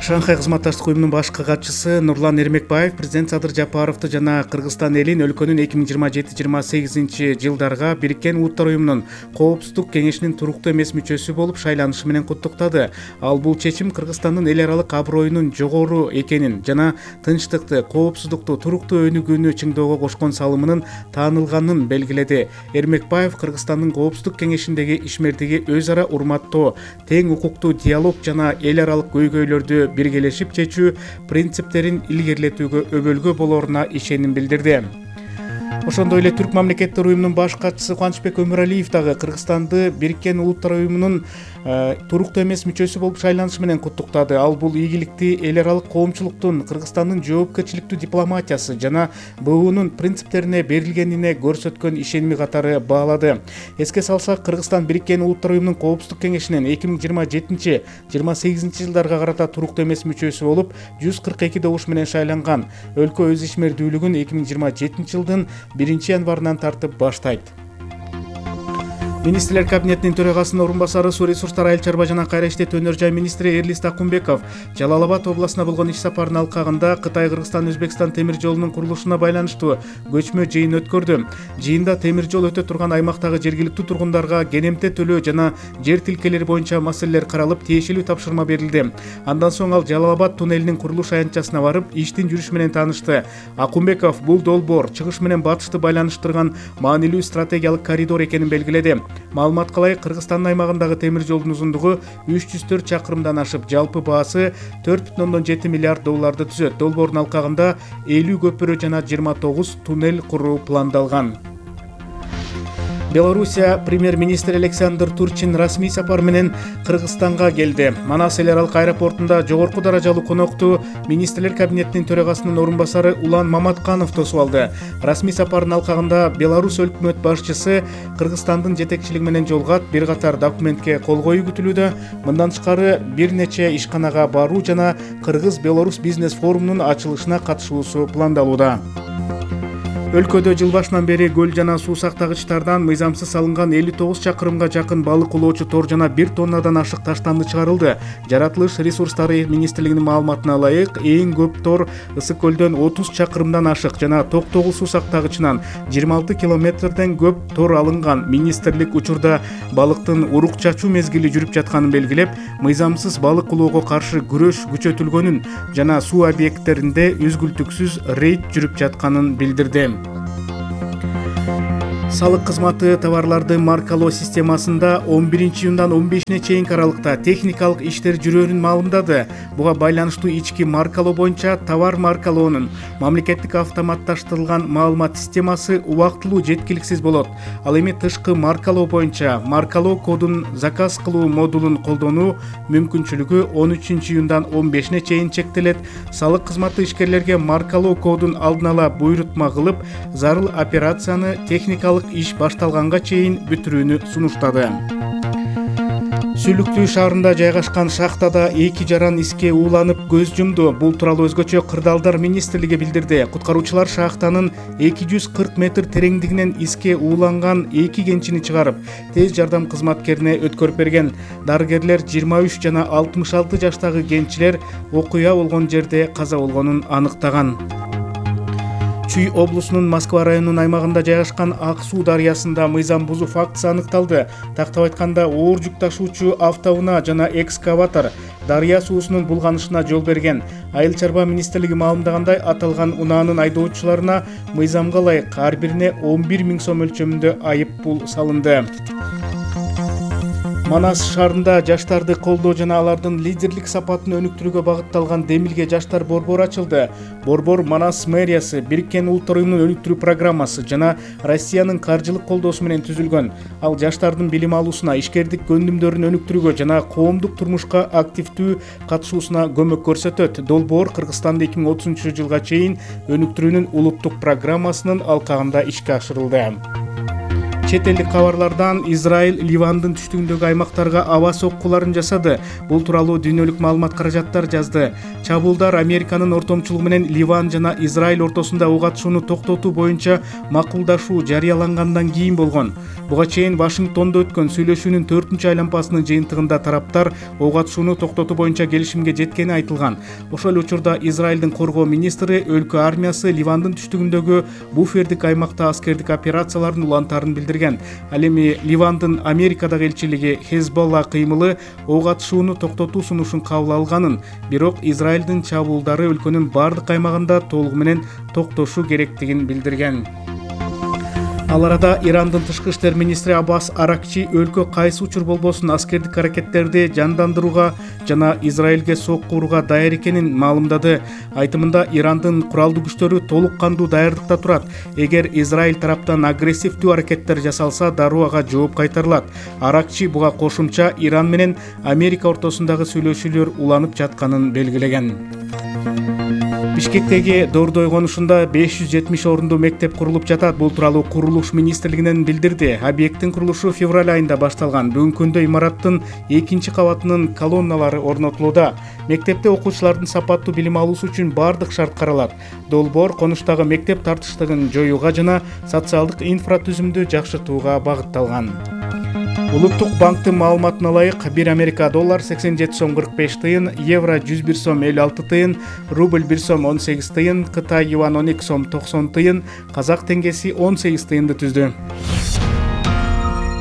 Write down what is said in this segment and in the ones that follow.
Шанхай кызматташтык уюмунун баш катчысы Нурлан Эрмекбаев президент Садыр Жапаровду жана Кыргызстан элин өлкөнүн 2027-28 жылдарга Бириккен Улуттар уюмунун Коопсуздук кеңешинин туруктуу эмес мүчөсү болуп шайланышы менен куттуктады. Ал бул чечим Кыргызстандын эл аралык аброюнун жогору экенин жана тынчтыкты, коопсуздукту, туруктуу өнүгүүнү чыңдоого кошкон салымынын таанылганын белгиледи. Эрмекбаев Кыргызстандын Коопсуздук кеңешиндеги ишмердиги өз ара урматтоо, тең укуктуу диалог жана эл аралык көйгөйлөрдү биргелешип чечүү принциптерин илгерилетүүгө өбөлгө болоруна ишеним билдирди. Ошондой эле Түрк мамлекеттер уюмунун баш катчысы Кубанычбек Өмүралиев дагы Кыргызстанды Бириккен Улуттар уюмунун туруктуу эмес мүчөсү болуп шайланышы менен куттуктады. Ал бул ийгиликти эл аралык коомчулуктун, Кыргызстандын жоопкерчиликтүү дипломатиясы жана БУнун принциптерине берилгенине көрсөткөн ишеними катары баалады. Эске салсак, Кыргызстан Бириккен Улуттар уюмунун Коопсуздук кеңешинин 2027-28 жылдарга карата туруктуу эмес мүчөсү болуп 142 добуш менен шайланган. Өлкө өз ишмердүүлүгүн 2027 жылдын 1-январынан тартып баштайт. Министрлер кабинетинин төрагасынын орун басары, суу ресурстары, айыл чарба жана кайра иштетүү өнөр жай министри Эрлис Такумбеков Жалал Абад областына болгон иш сапарынын алкагында Кытай, Кыргызстан, Өзбекстан темир жолунун курулушуна байланыштуу көчмө жыйын өткөрдү. Жыйында темир жол өтө турган аймактагы жергиликтүү тургундарга кенемте төлөө жана жер тилкелери боюнча маселелер каралып, тиешелүү тапшырма берилди. Андан соң ал Жалал Абад туннелинин курулуш аянтчасына барып, иштин жүрүшү менен таанышты. Акумбеков бул долбоор чыгыш менен батышты байланыштырган маанилүү стратегиялык коридор экенин белгиледи. Маалыматка ылайык, Кыргызстандын аймагындагы темир жолдун узундугу 304 чакырымдан ашып, жалпы баасы 4,7 миллиард долларды түзөт. Долбоордун алкагында 50 көпүрө жана 29 туннель куруу пландалган. Белоруссия премьер-министри Александр Турчин расмий сапар менен Кыргызстанга келди. Манас эл аралык аэропортунда жогорку даражалуу конокту министрлер кабинетинин төрагасынын орун басары Улан Маматканов тосуп алды. Расмий сапардын алкагында Беларусь өкмөт башчысы Кыргызстандын жетекчилиги менен жолугат, бир катар документке кол коюу күтүлүүдө. Мындан тышкары бир нече ишканага баруу жана Кыргыз-Беларусь бизнес форумунун ачылышына катышуусу пландалууда. Өлкөдө жыл башынан бери көл жана суу сактагычтардан мыйзамсыз салынган 59 чакырымга жакын балык улоочу тор жана 1 тоннадан ашык таштанды чыгарылды. Жаратылыш ресурстары министрлигинин маалыматына ылайык, эң көп тор Ысык көлдөн 30 чакырымдан ашык жана Токтогул суу сактагычынан 26 километрден көп тор алынган. Министрлик учурда балыктын урук чачуу мезгили жүрүп жатканын белгилеп, мыйзамсыз балык улоого каршы күрөш күчөтүлгөнүн жана суу объекттеринде үзгүлтүксүз рейд жүрүп жатканын билдирди. Салык кызматы товарларды маркалоо системасында 11-июндан 15-ине чейинки аралыкта техникалык иштер жүрөөрүн маалымдады. Буга байланыштуу ички маркалоо боюнча товар маркалоонун мамлекеттик автоматташтырылган маалымат системасы убактылуу жеткиликсиз болот. Ал эми тышкы маркалоо боюнча маркалоо кодун заказ кылуу модулун колдонуу мүмкүнчүлүгү 13-июндан 15-ине чейин чектелет. Салык кызматы ишкерлерге маркалоо кодун алдын ала буйрутма кылып, зарыл операцияны техникалык иш башталганга чейин бүтүрүүнү сунуштады. Сүйлүктүү шаарында жайгашкан шахтада 2 жаран иске ууланып көз жумду. Бул тууралуу өзгөчө Кырдаалдар министрлиги билдирди. Куткаруучулар шахтанын 240 метр тереңдигинен иске ууланган 2 кенчини чыгарып, тез жардам кызматкерине өткөрүп берген. Дарыгерлер 23 жана 66 жаштагы кенчилер окуя болгон жерде каза болгонун аныктаган. Чүй облусунун Москва районунун аймагында жайгашкан Ак суу дарыясында мыйзам бузуу фактысы аныкталды. Тактап айтканда, оор жүк ташуучу автоунаа жана экскаватор дарыя суусунун булганышына жол берген. Айыл чарба министрлиги маалымдагандай, аталган унаанын айдоочуларына мыйзамга ылайык ар бирине 11 000 сом өлчөмүндө айып пул салынды. Манас шаарында жаштарды колдоо жана алардын лидерлик сапатын өнүктүрүүгө багытталган Демилге жаштар борбору ачылды. Борбор Манас мэриясы, Бириккен Улуттар уюмунун өнүктүрүү программасы жана Россиянын каржылык колдоосу менен түзүлгөн. Ал жаштардын билим алуусуна, ишкердик көндүмдөрүн өнүктүрүүгө жана коомдук турмушка активдүү катышуусуна көмөк көрсөтөт. Долбоор Кыргызстанды 2030 жылга чейин өнүктүрүүнүн улуттук программасынын алкагында ишке ашырылды. Чет элдик кабарлардан Израиль Ливандын түштүгүндөгү аймактарга аба соккуларын жасады. Бул тууралуу дүйнөлүк маалымат каражаттар жазды. Чабуулдар Американын ортомчулугу менен Ливан жана Израиль ортосунда ок атышууну токтотуу боюнча макулдашуу жарыялангандан кийин болгон. Буга чейин Вашингтондо өткөн сүйлөшүүнүн 4-чү айланпасынын жыйынтыгында тараптар ок атышууну токтотуу боюнча келишимге жеткени айтылган. Ошол учурда Израилдин коргоо министри өлкө армиясы Ливандын түштүгүндөгү буфердик аймакта аскердик операцияларын улантаарын билдирген. Ал эми Ливандын Америкадагы элчилиги Хезболла кыймылы ок атышууну токтотуу сунушун кабыл алганын, бирок Израилдин чабуулдары өлкөнүн бардык аймагында толугу менен токтошу керектигин билдирген. Ал арада Ирандын тышкы иштер министри Аббас Аракчи өлкө кайсы учур болбосун аскердик аракеттерди жандандырууга жана Израилге сокку урууга даяр экенин маалымдады. Айтымында Ирандын куралдуу күчтөрү толук кандуу даярдыкта турат. Эгер Израиль тараптан агрессивдүү аракеттер жасалса, дароо ага жооп кайтарылат. Аракчи буга кошумча Иран менен Америка ортосундагы сүйлөшүүлөр уланып жатканын белгилеген. Бишкектеги Дордой конушунда 570 орундуу мектеп курулуп жатат. Бул тууралуу курулуш министрлигинен билдирди. Объекттин курулушу февраль айында башталган. Бүгүнкү күндө имараттын 2-чи кабатынын колонналары орнотулууда. Мектепте окуучулардын сапаттуу билим алуусу үчүн бардык шарт каралат. Долбоор конуштагы мектеп тартыштыгын жоюуга жана социалдык инфратүзүмдү жакшыртууга багытталган. Улуттук банктын маалыматына ылайык, 1 Америка доллар 87 сом 45 тыйын, евро 101 сом 56 тыйын, рубль 1 сом 18 тыйын, Кытай юан 12 сом 90 тыйын, казак теңгеси 18 тыйынды түздү.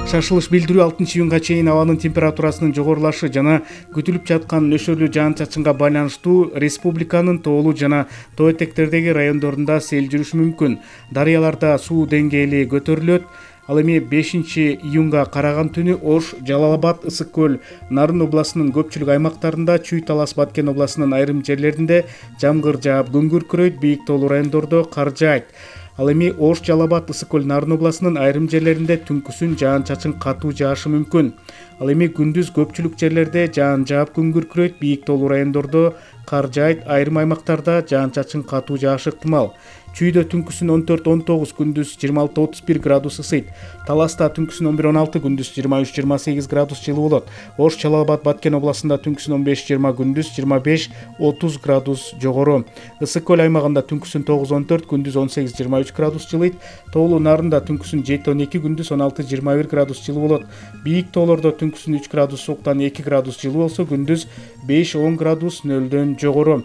Шашылыш билдирүү 6-июнга чейин абанын температурасынын жогорулашы жана күтүлүп жаткан нөшөрлүү жаан-чачынга байланыштуу республиканын тоолуу жана тоо этектердеги райондорунда сел жүрүшү мүмкүн. Дарыяларда суу деңгээли көтөрүлөт. Ал эми 5-июнга караган түнү Ош, Жалал-Абад, Ысык көл, Нарын областынын көпчүлүк аймактарында, Чүй-Талас, Баткен областынын айрым жерлеринде жамгыр жаап, күн күркүрөйт, бийик тоолуу райондордо кар жаайт. Ал эми Ош, Жалал-Абад, Ысык көл, Нарын областынын айрым жерлеринде түнкүсүн жаан-чачын катуу жаашы мүмкүн. Ал эми күндүз көпчүлүк жерлерде жаан жаап, күн күркүрөйт, бийик тоолуу райондордо кар жаайт, айрым аймактарда жаан-чачын катуу жаашы ыктымал. Чүйдө түнкүсүн 14-19, күндүз 26-31 градус ысыйт. Таласта түнкүсүн 11-16, күндүз 23-28 градус жылуу болот. Ош, Жалал-Абад, Баткен областында түнкүсүн 15-20, күндүз 25-30 градус жогору. Ысык көл аймагында түнкүсүн 9-14, күндүз 18-23 градус жылыйт. Тоолуу Нарында түнкүсүн 7-12, күндүз 16-21 градус жылуу болот. Бийик тоолордо түнкүсүн 3 градус сууктан 2 градус жылуу болсо, күндүз 5-10 градус нөлдөн жогору.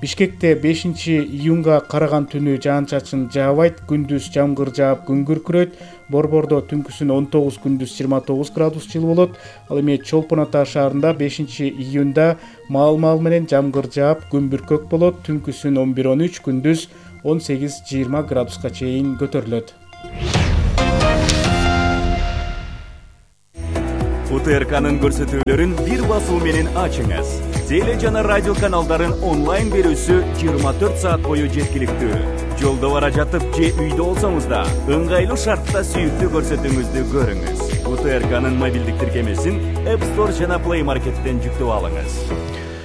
Бишкекте 5-июнга караган түнү жаан-чачын жаабайт, күндүз жамгыр жаап, күн күркүрөйт. Борбордо түнкүсүн 19, күндүз 29 градус жылуу болот. Ал эми Чолпон Ата шаарында 5-июнда маал менен жамгыр жаап, күн бүркөк болот. Түнкүсүн 11-13, күндүз 18-20 градуска чейин көтөрүлөт. УТРКнын көрсөтүүлөрүн бир басуу менен ачыңыз. Теле жана радио каналдарын онлайн берүүсү 24 саат бою жеткиликтүү. Жолдо бара жатып же үйдө болсоңуз да ыңгайлуу шартта сүйүктүү көрсөтүүңүздү көрүңүз. УТРКнын мобилдик тиркемесин App Store жана Play Market'тен жүктөп алыңыз.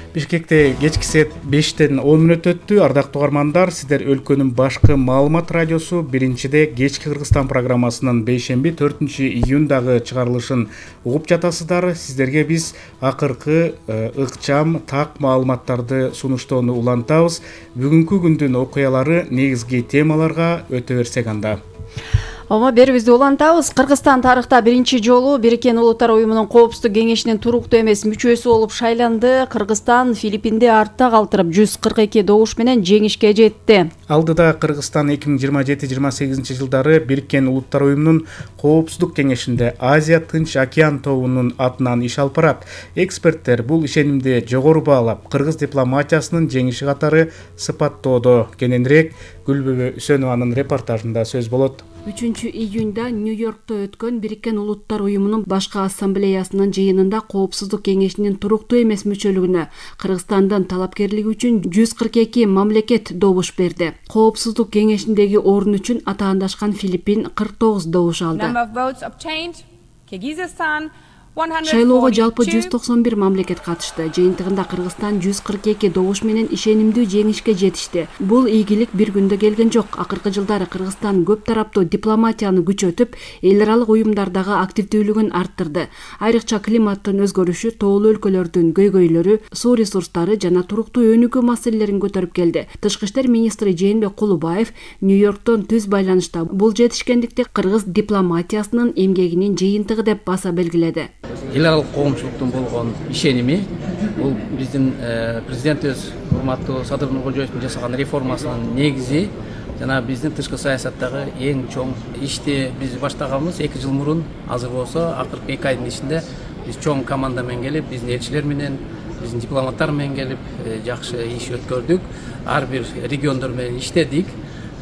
Бишкекте кечки саат 5-10 өттү. Ардактуу угармандар, сиздер өлкөнүн башкы маалымат радиосу биринчиде кечки Кыргызстан программасынын 5-4-июндагы чыгарылышын угуп жатасыздар. Сиздерге биз акыркы ыкчам так маалыматтарды сунуштоону улантабыз. Бүгүнкү күндүн окуялары негизги темаларга өтө берсек анда. Омо берибизди улантабыз. Кыргызстан тарыхта биринчи жолу Бириккен Улуттар уюмунун коопсуздук кеңешинин туруктуу эмес мүчөсү болуп шайланды. Кыргызстан Филиппинди артта калтырып 142 добуш менен жеңишке жетти. Алдыда Кыргызстан 2027-28 жылдары Бириккен Улуттар уюмунун коопсуздук кеңешинде Азия Тынч океан тобунун атынан иш алып барат. Эксперттер бул ишенимди жогору баалап, кыргыз дипломатиясынын жеңиши катары сыпаттоодо. Кененирээк Гүлбүбө Үсөнованын репортажында сөз болот. 3-июнда Нью-Йоркто өткөн Бириккен Улуттар уюмунун башкы ассамблеясынын жыйынында коопсуздук кеңешинин туруктуу эмес мүчөлүгүнө Кыргызстандын талапкерлиги үчүн 142 мамлекет добуш берди. Коопсуздук кеңешиндеги орун үчүн атаандашкан Филиппин 49 добуш алды. Шайлоого жалпы 191 мамлекет катышты. Жыйынтыгында Кыргызстан 142 добуш менен ишенимдүү жеңишке жетишти. Бул ийгилик бир күндө келген жок. Акыркы жылдары Кыргызстан көп тараптуу дипломатияны күчөтүп, эл аралык уюмдардагы активдүүлүгүн арттырды. Айрыкча климаттын өзгөрүшү, тоолуу өлкөлөрдүн көйгөйлөрү, суу ресурстары жана туруктуу өнүгүү маселелерин көтөрүп келди. Тышкы иштер министри Жээнбек Кулубаев Нью-Йорктон түз байланышта бул жетишкендикти кыргыз дипломатиясынын эмгегинин жыйынтыгы деп баса белгиледи. Эл аралык коомчулуктун болгон ишеними бул биздин президентибиз урматтуу Садыр Нуркожоевдун жасаган реформасынын негизи жана биздин тышкы саясаттагы эң чоң ишти биз баштаганбыз 2 жыл мурун. Азыр болсо акыркы 2 айдын ичинде биз чоң команда менен келип, биздин элчилер менен, биздин дипломаттар менен келип жакшы иш өткөрдүк. Ар бир региондор менен иштедик.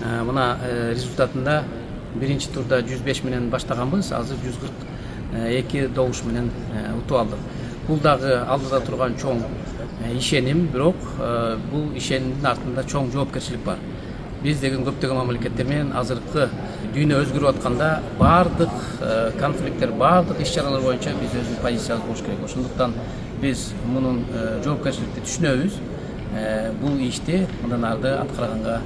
Мына результатында биринчи турда 105 менен баштаганбыз, азыр 142 добуш менен утуп алдык. Бул дагы алдыда турган чоң ишеним, бирок бул ишенимдин артында чоң жоопкерчилик бар. Биз деген көптөгөн мамлекеттер менен азыркы дүйнө өзгөрүп атканда бардык конфликттер, бардык иш-чаралар боюнча биз өзүбүздүн позициябыз болуш керек. Ошондуктан биз мунун жоопкерчиликти түшүнөбүз. Бул ишти мындан арды аткарганга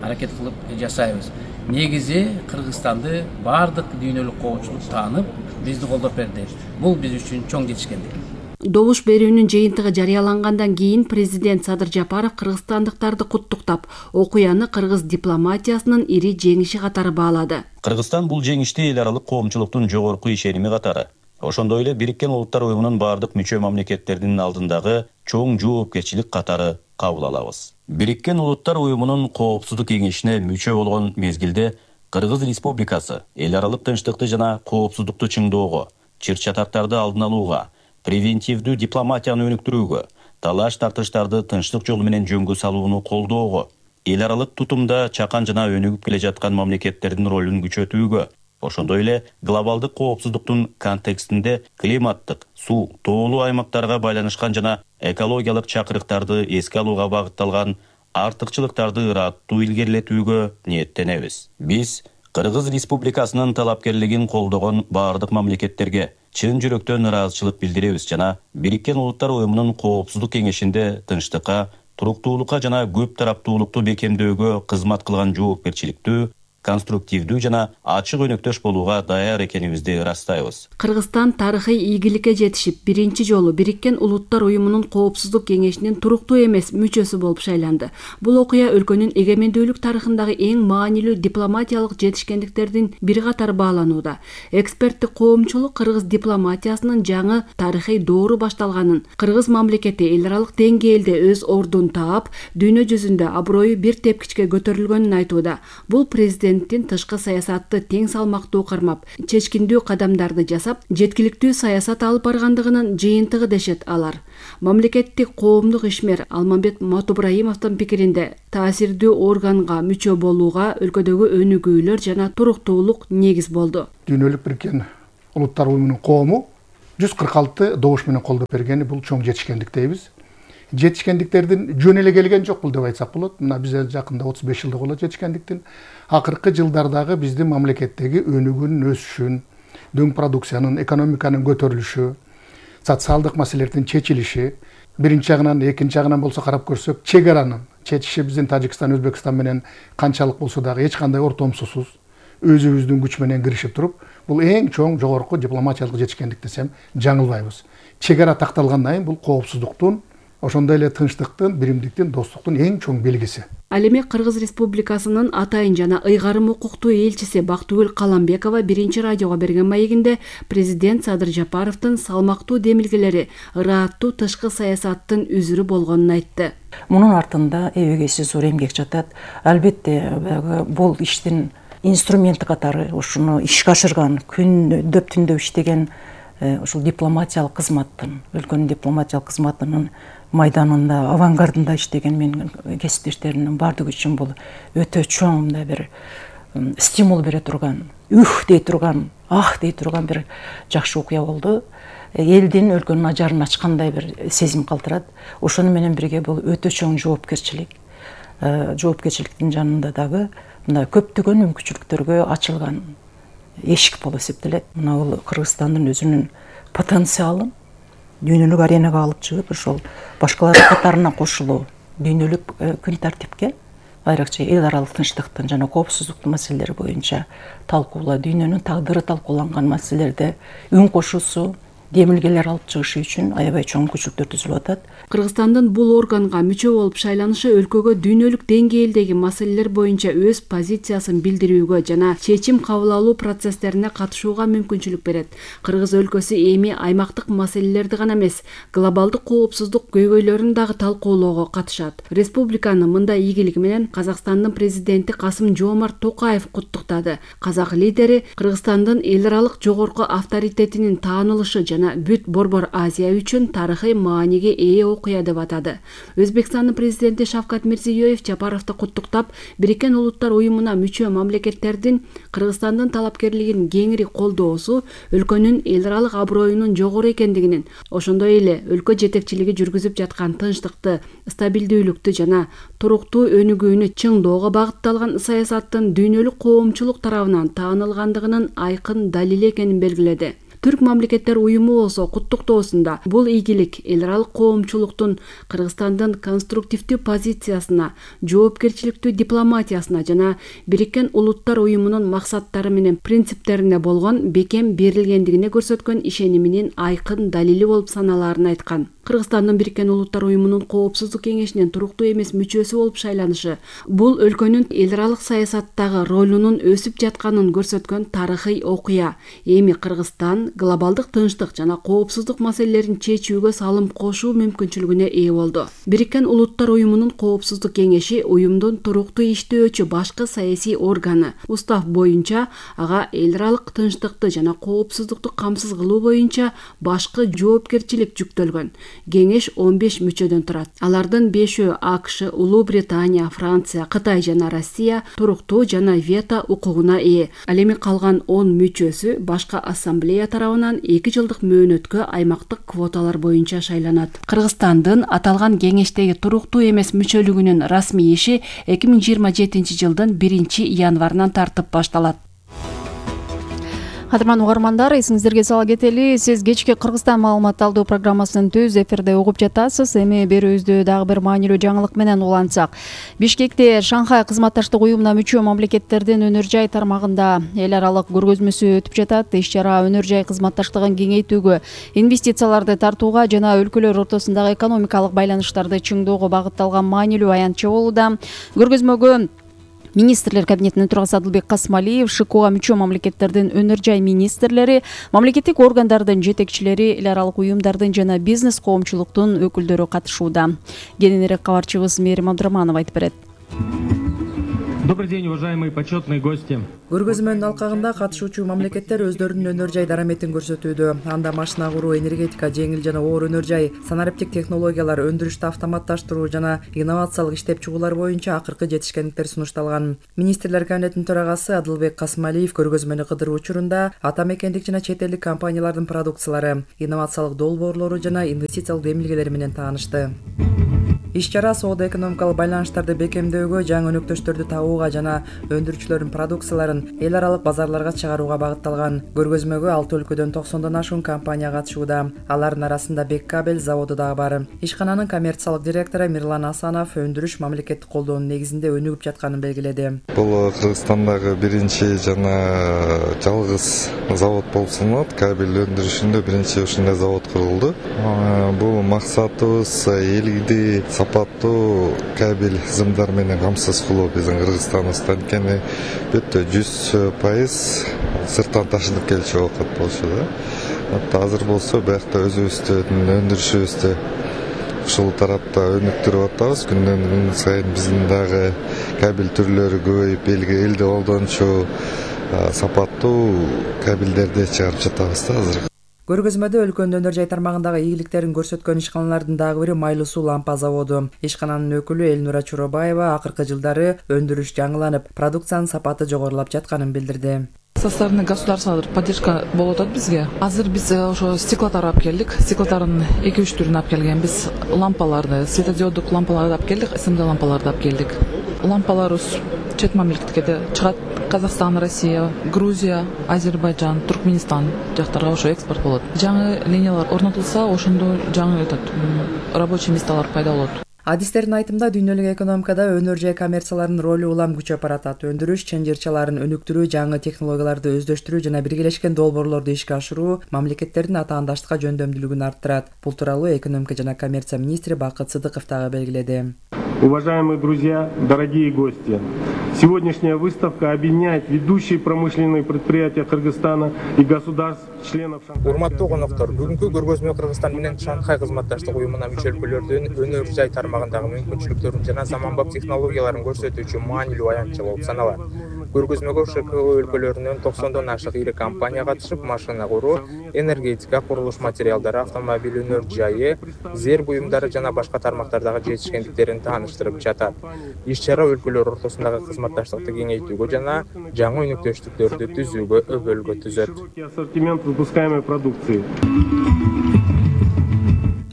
аракет кылып жасайбыз. Негизи Кыргызстанды бардык дүйнөлүк коомчулук таанып, бизди колдоп берди. Бул биз үчүн чоң жетишкендик. Добуш берүүнүн жыйынтыгы жарыялангандан кийин президент Садыр Жапаров кыргызстандыктарды куттуктап, окуяны кыргыз дипломатиясынын ири жеңиши катары баалады. Кыргызстан бул жеңишти эл аралык коомчулуктун жогорку ишеними катары, ошондой эле Бириккен Улуттар Уюмунун бардык мүчө мамлекеттердин алдындагы чоң жоопкерчилик катары кабыл алабыз. Бириккен Улуттар Уюмунун Коопсуздук кеңешине мүчө болгон мезгилде Кыргыз Республикасы эл аралык тынчтыкты жана коопсуздукту чыңдоого, чыр-чатактарды алдын алууга, превентивдүү дипломатияны өнүктүрүүгө, талаш-тартыштарды тынчтык жолу менен жөнгө салууну колдоого, эл аралык тутумда чакан жана өнүгүп келе жаткан мамлекеттердин ролун күчөтүүгө, ошондой эле глобалдык коопсуздуктун контекстинде климаттык, суу, тоолуу аймактарга байланышкан жана экологиялык чакырыктарды эске алууга багытталган артыкчылыктарды ыраттуу илгерилетүүгө ниеттенебиз. Биз Кыргыз Республикасынын талапкерлигин колдогон бардык мамлекеттерге чын жүрөктөн ыраазычылык билдиребиз жана Бириккен Улуттар Уюмунун Коопсуздук кеңешинде тынчтыкка, туруктуулукка жана көп тараптуулукту бекемдөөгө кызмат кылган жоопкерчиликтүү, конструктивдүү жана ачык өнөктөш болууга даяр экенибизди ырастайбыз. Кыргызстан тарыхый ийгиликке жетишип, биринчи жолу Бириккен Улуттар Уюмунун Коопсуздук кеңешинин туруктуу эмес мүчөсү болуп шайланды. Бул окуя өлкөнүн эгемендүүлүк тарыхындагы эң маанилүү дипломатиялык жетишкендиктердин бири катары бааланууда. Эксперттик коомчулук кыргыз дипломатиясынын жаңы тарыхый доору башталганын, кыргыз мамлекети эл аралык деңгээлде өз ордун таап, дүйнө жүзүндө аброю бир тепкичке көтөрүлгөнүн айтууда. Бул президенттин тышкы саясатты тең салмактуу кармап, чечкиндүү кадамдарды жасап, жеткиликтүү саясат алып баргандыгынын жыйынтыгы дешет алар. Мамлекеттик коомдук ишмер Алмамбет Матубраимовдун пикиринде, таасирдүү органга мүчө болууга өлкөдөгү өнүгүүлөр жана туруктуулук негиз болду. Дүйнөлүк Бириккен Улуттар Уюмунун коому 146 добуш менен колдоп бергени бул чоң жетишкендик дейбиз. Жетишкендиктердин жөн эле келген жок бул деп айтсак болот. Мына биз жакында 35 жылдык болот жетишкендиктин. Акыркы жылдардагы биздин мамлекеттеги өнүгүүнүн өсүшүн, дөң продукциянын, экономиканын көтөрүлүшү, социалдык маселелердин чечилиши, биринчи жагынан, экинчи жагынан болсо карап көрсөк, чек аранын чечиши биздин Тажикстан, Өзбекстан менен канчалык болсо дагы эч кандай ортомсусуз өзүбүздүн күч менен киришип туруп, бул эң чоң жогорку дипломатиялык жетишкендик десем жаңылбайбыз. Чек ара такталгандан кийин бул коопсуздуктун, ошондой эле тынчтыктын, биримдиктин, достуктун эң чоң белгиси. Ал эми Кыргыз Республикасынын атайын жана ыйгарым укуктуу элчиси Бактыгүл Каламбекова биринчи радиого берген маегинде президент Садыр Жапаровдун салмактуу демилгелери ырааттуу тышкы саясаттын үзүрү болгонун айтты. Мунун артында эбегейсиз зор эмгек жатат. Албетте бул иштин инструменти катары ушуну ишке ашырган, күндөп түндөп иштеген ушул дипломатиялык кызматтын, өлкөнүн дипломатиялык кызматынын майданында, авангардында иштеген менин кесиптештеримдин бардыгы үчүн бул өтө чоң мындай бир стимул бере турган, дей турган, дей турган бир жакшы окуя болду. Элдин, өлкөнүн ажарын ачкандай бир сезим калтырат. Ошону менен бирге бул өтө чоң жоопкерчилик. Жоопкерчиликтин жанында дагы мындай көптөгөн мүмкүнчүлүктөргө ачылган эшик болуп эсептелет. Мына бул Кыргызстандын өзүнүн потенциалын дүйнөлүк аренага алып чыгып, ошол башкалар катарына кошулуу, дүйнөлүк күн тартипке, айрыкча эл аралык тынчтыктын жана коопсуздуктун маселелери боюнча талкуулоо, дүйнөнүн тагдыры талкууланган маселелерде үн кошуусу, демилгелер алып чыгышы үчүн аябай чоң мүмкүнчүлүктөр түзүлүп атат. Кыргызстандын бул органга мүчө болуп шайланышы өлкөгө дүйнөлүк деңгээлдеги маселелер боюнча өз позициясын билдирүүгө жана чечим кабыл алуу процесстерине катышууга мүмкүнчүлүк берет. Кыргыз өлкөсү эми аймактык маселелерди гана эмес, глобалдык коопсуздук көйгөйлөрүн дагы талкуулоого катышат. Республиканы мындай ийгилиги менен Казакстандын президенти Касым-Жомарт Токаев куттуктады. Казак лидери Кыргызстандын эл аралык жогорку авторитетинин таанылышы жана бүт Борбор Азия үчүн тарыхый мааниге ээ окуя деп атады. Өзбекстандын президенти Шавкат Мирзиёев Жапаровду куттуктап, Бириккен Улуттар уюмуна мүчө мамлекеттердин Кыргызстандын талапкерлигин кеңири колдоосу өлкөнүн эл аралык аброюнун жогору экендигинин, ошондой эле өлкө жетекчилиги жүргүзүп жаткан тынчтыкты, стабилдүүлүктү жана туруктуу өнүгүүнү чыңдоого багытталган саясаттын дүйнөлүк коомчулук тарабынан таанылгандыгынын айкын далили экенин белгиледи. Түрк мамлекеттер уюму болсо куттуктоосунда бул ийгилик эл аралык коомчулуктун Кыргызстандын конструктивдүү позициясына, жоопкерчиликтүү дипломатиясына жана Бириккен Улуттар уюмунун максаттары менен принциптерине болгон бекем берилгендигине көрсөткөн ишениминин айкын далили болуп саналаарын айткан. Кыргызстандын Бириккен Улуттар уюмунун Коопсуздук кеңешинин туруктуу эмес мүчөсү болуп шайланышы бул өлкөнүн эл аралык саясаттагы ролунун өсүп жатканын көрсөткөн тарыхый окуя. Эми Кыргызстан глобалдык тынчтык жана коопсуздук маселелерин чечүүгө салым кошуу мүмкүнчүлүгүнө ээ болду. Бириккен Улуттар уюмунун Коопсуздук кеңеши уюмдун туруктуу иштөөчү башкы саясий органы. Устав боюнча ага эл аралык тынчтыкты жана коопсуздукту камсыз кылуу боюнча башкы жоопкерчилик жүктөлгөн. Кеңеш 15 мүчөдөн турат. Алардын 5-өө АКШ, Улуу Британия, Франция, Кытай жана Россия туруктуу жана вето укугуна ээ. Ал эми калган 10 мүчөсү башкы ассамблея тарабынан 2 жылдык мөөнөткө аймактык квоталар боюнча шайланат. Кыргызстандын аталган кеңештеги туруктуу эмес мүчөлүгүнүн расмий иши 2027 жылдын 1 январынан тартып башталат. Кадырман угармандар, эсиңиздерге сала кетели, сиз кечки Кыргызстан маалымат алуу программасын түз эфирде угуп жатасыз. Эми берүүбүздү дагы бир маанилүү жаңылык менен улантсак. Бишкекте Шанхай кызматташтык уюмуна мүчө мамлекеттердин өнөр жай тармагында эл аралык көргөзмөсү өтүп жатат. Иш-чара өнөр жай кызматташтыгын кеңейтүүгө, инвестицияларды тартууга жана өлкөлөр ортосундагы экономикалык байланыштарды чыңдоого багытталган маанилүү аянтча болууда. Көргөзмөгө Министрлер кабинетинин төрагасы Адылбек Касмалиев, ШИКОга мүчө мамлекеттердин өнөр жай министрлери, мамлекеттик органдардын жетекчилери, эл аралык уюмдардын жана бизнес коомчулуктун өкүлдөрү катышууда. Кененирээк кабарчыбыз Мээрим Абдыраманова айтып берет. Добрый день, уважаемые почетные гости. Көргөзмөнүн алкагында катышуучу мамлекеттер өздөрүнүн өнөр жай дараметин көрсөтүүдө. Анда машина куруу, энергетика, жеңил жана оор өнөр жай, санариптик технологиялар, өндүрүштү автоматташтыруу жана инновациялык иштеп чыгуулар боюнча акыркы жетишкендиктер сунушталган. Министрлер кабинетинин төрагасы Адылбек Касмалиев көргөзмөнү кыдыруу учурунда ата мекендик жана чет элдик компаниялардын продукциялары, инновациялык долбоорлору жана инвестициялык демилгелери менен таанышты. Иш-чара соода-экономикалык байланыштарды бекемдөөгө, жаңы өнөктөштөрдү табууга жана өндүрүүчүлөрдүн продукцияларын эл аралык базарларга чыгарууга багытталган. Көргөзмөгө 6 өлкөдөн 90дон ашуун компания катышууда. Алардын арасында Беккабель заводу дагы бар. Ишкананын коммерциялык директору Мирлан Асанов өндүрүш мамлекеттик колдоонун негизинде өнүгүп жатканын белгиледи. Бул Кыргызстандагы биринчи жана жалгыз завод болуп саналат. Кабель өндүрүшүндө биринчи ушундай завод курулду. Бул максатыбыз элди сапаттуу кабель зымдар менен камсыз кылуу биздин Кыргызстаныбызда. Анткени бүттө 100% сырттан ташынып келчү оокат болчу да. Азыр болсо биякта өзүбүздүн өндүрүшүбүздү ушул тарапта өнүктүрүп атабыз. Күндөн күн сайын биздин дагы кабель түрлөрү көбөйүп, элди колдончу сапаттуу кабелдерди чыгарып жатабыз да азыр. Көргөзмөдө өлкөнүн өнөр жай тармагындагы ийгиликтерин көрсөткөн ишканалардын дагы бири Майлуу суу лампа заводу. Ишкананын өкүлү Элнура Чуробаева акыркы жылдары өндүрүш жаңыланып, продукциянын сапаты жогорулап жатканын билдирди. Со стороны государства поддержка болуп атат бизге. Азыр биз ошо стеклотар алып келдик. Стеклотардын 2-3 түрүн алып келгенбиз. Лампаларды, светодиоддук лампаларды алып келдик, СМД лампаларды алып келдик. Лампаларыбыз чет мамлекетке да чыгат. Казакстан, Россия, Грузия, Азербайджан, Туркменистан жактарга ошо экспорт болот. Жаңы линиялар орнотулса, ошондо жаңы рабочий месталар пайда болот. Адистердин айтымында дүйнөлүк экономикада өнөр жай коммерцияларынын ролу улам күчөп баратат. Өндүрүш чынжырчаларын өнүктүрүү, жаңы технологияларды өздөштүрүү жана биргелешкен долбоорлорду ишке ашыруу мамлекеттердин атаандаштыкка жөндөмдүүлүгүн арттырат. Бул тууралуу экономика жана коммерция министри Бакыт Сыдыков дагы белгиледи. Уважаемые друзья, дорогие гости, сегодняшняя выставка объединяет ведущие промышленные предприятия Кыргызстана и государств членов Шанхай. Урматтуу коноктор, бүгүнкү көргөзмө Кыргызстан менен Шанхай кызматташтык уюмуна мүчө өлкөлөрдүн өнөр жай тармагындагы мүмкүнчүлүктөрүн жана заманбап технологияларын көрсөтүүчү маанилүү аянтча болуп саналат. Көргөзмөгө ШКО өлкөлөрүнөн 90дон ашык ири компания катышып, машина куруу, энергетика, курулуш материалдары, автомобиль өнөр жайы, зер буюмдары жана башка тармактардагы жетишкендиктерин тааныштырып жатат. Иш-чара өлкөлөр ортосундагы кызматташтыкты кеңейтүүгө жана жаңы өнөктөштүктөрдү түзүүгө өбөлгө түзөт. Ассортимент выпускаемой продукции.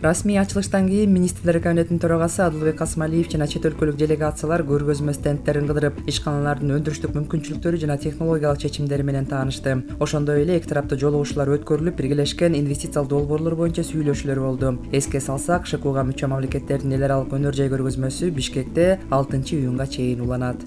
Расмий ачылыштан кийин министрлер кабинетинин төрагасы Адылбек Касымалиев жана чет өлкөлүк делегациялар көргөзмө стендтерин кыдырып, ишканалардын өндүрүштүк мүмкүнчүлүктөрү жана технологиялык чечимдери менен таанышты. Ошондой эле эки тараптуу жолугушуулар өткөрүлүп, биргелешкен инвестициялык долбоорлор боюнча сүйлөшүүлөр болду. Эске салсак, ШКУга мүчө мамлекеттердин эл аралык өнөр жай көргөзмөсү Бишкекте 6-июнга чейин уланат.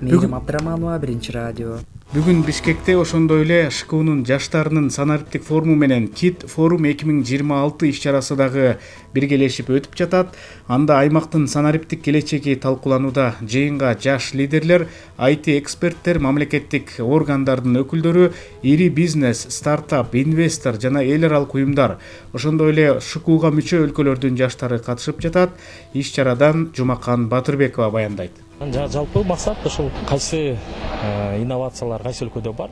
Мейрим Абдыраманова, Биринчи радио. Бүгүн Бишкекте ошондой эле ШКУнун жаштарынын санариптик форуму менен Кит форум 2026 иш-чарасы дагы биргелешип өтүп жатат. Анда аймактын санариптик келечеги талкууланууда. Жыйынга жаш лидерлер, IT эксперттер, мамлекеттик органдардын өкүлдөрү, ири бизнес, стартап, инвестор жана эл аралык уюмдар, ошондой эле ШКУга мүчө өлкөлөрдүн жаштары катышып жатат. Иш-чарадан Жумакан Батырбекова баяндайт. Жалпы максат ушул кайсы инновациялар кайсы өлкөдө бар.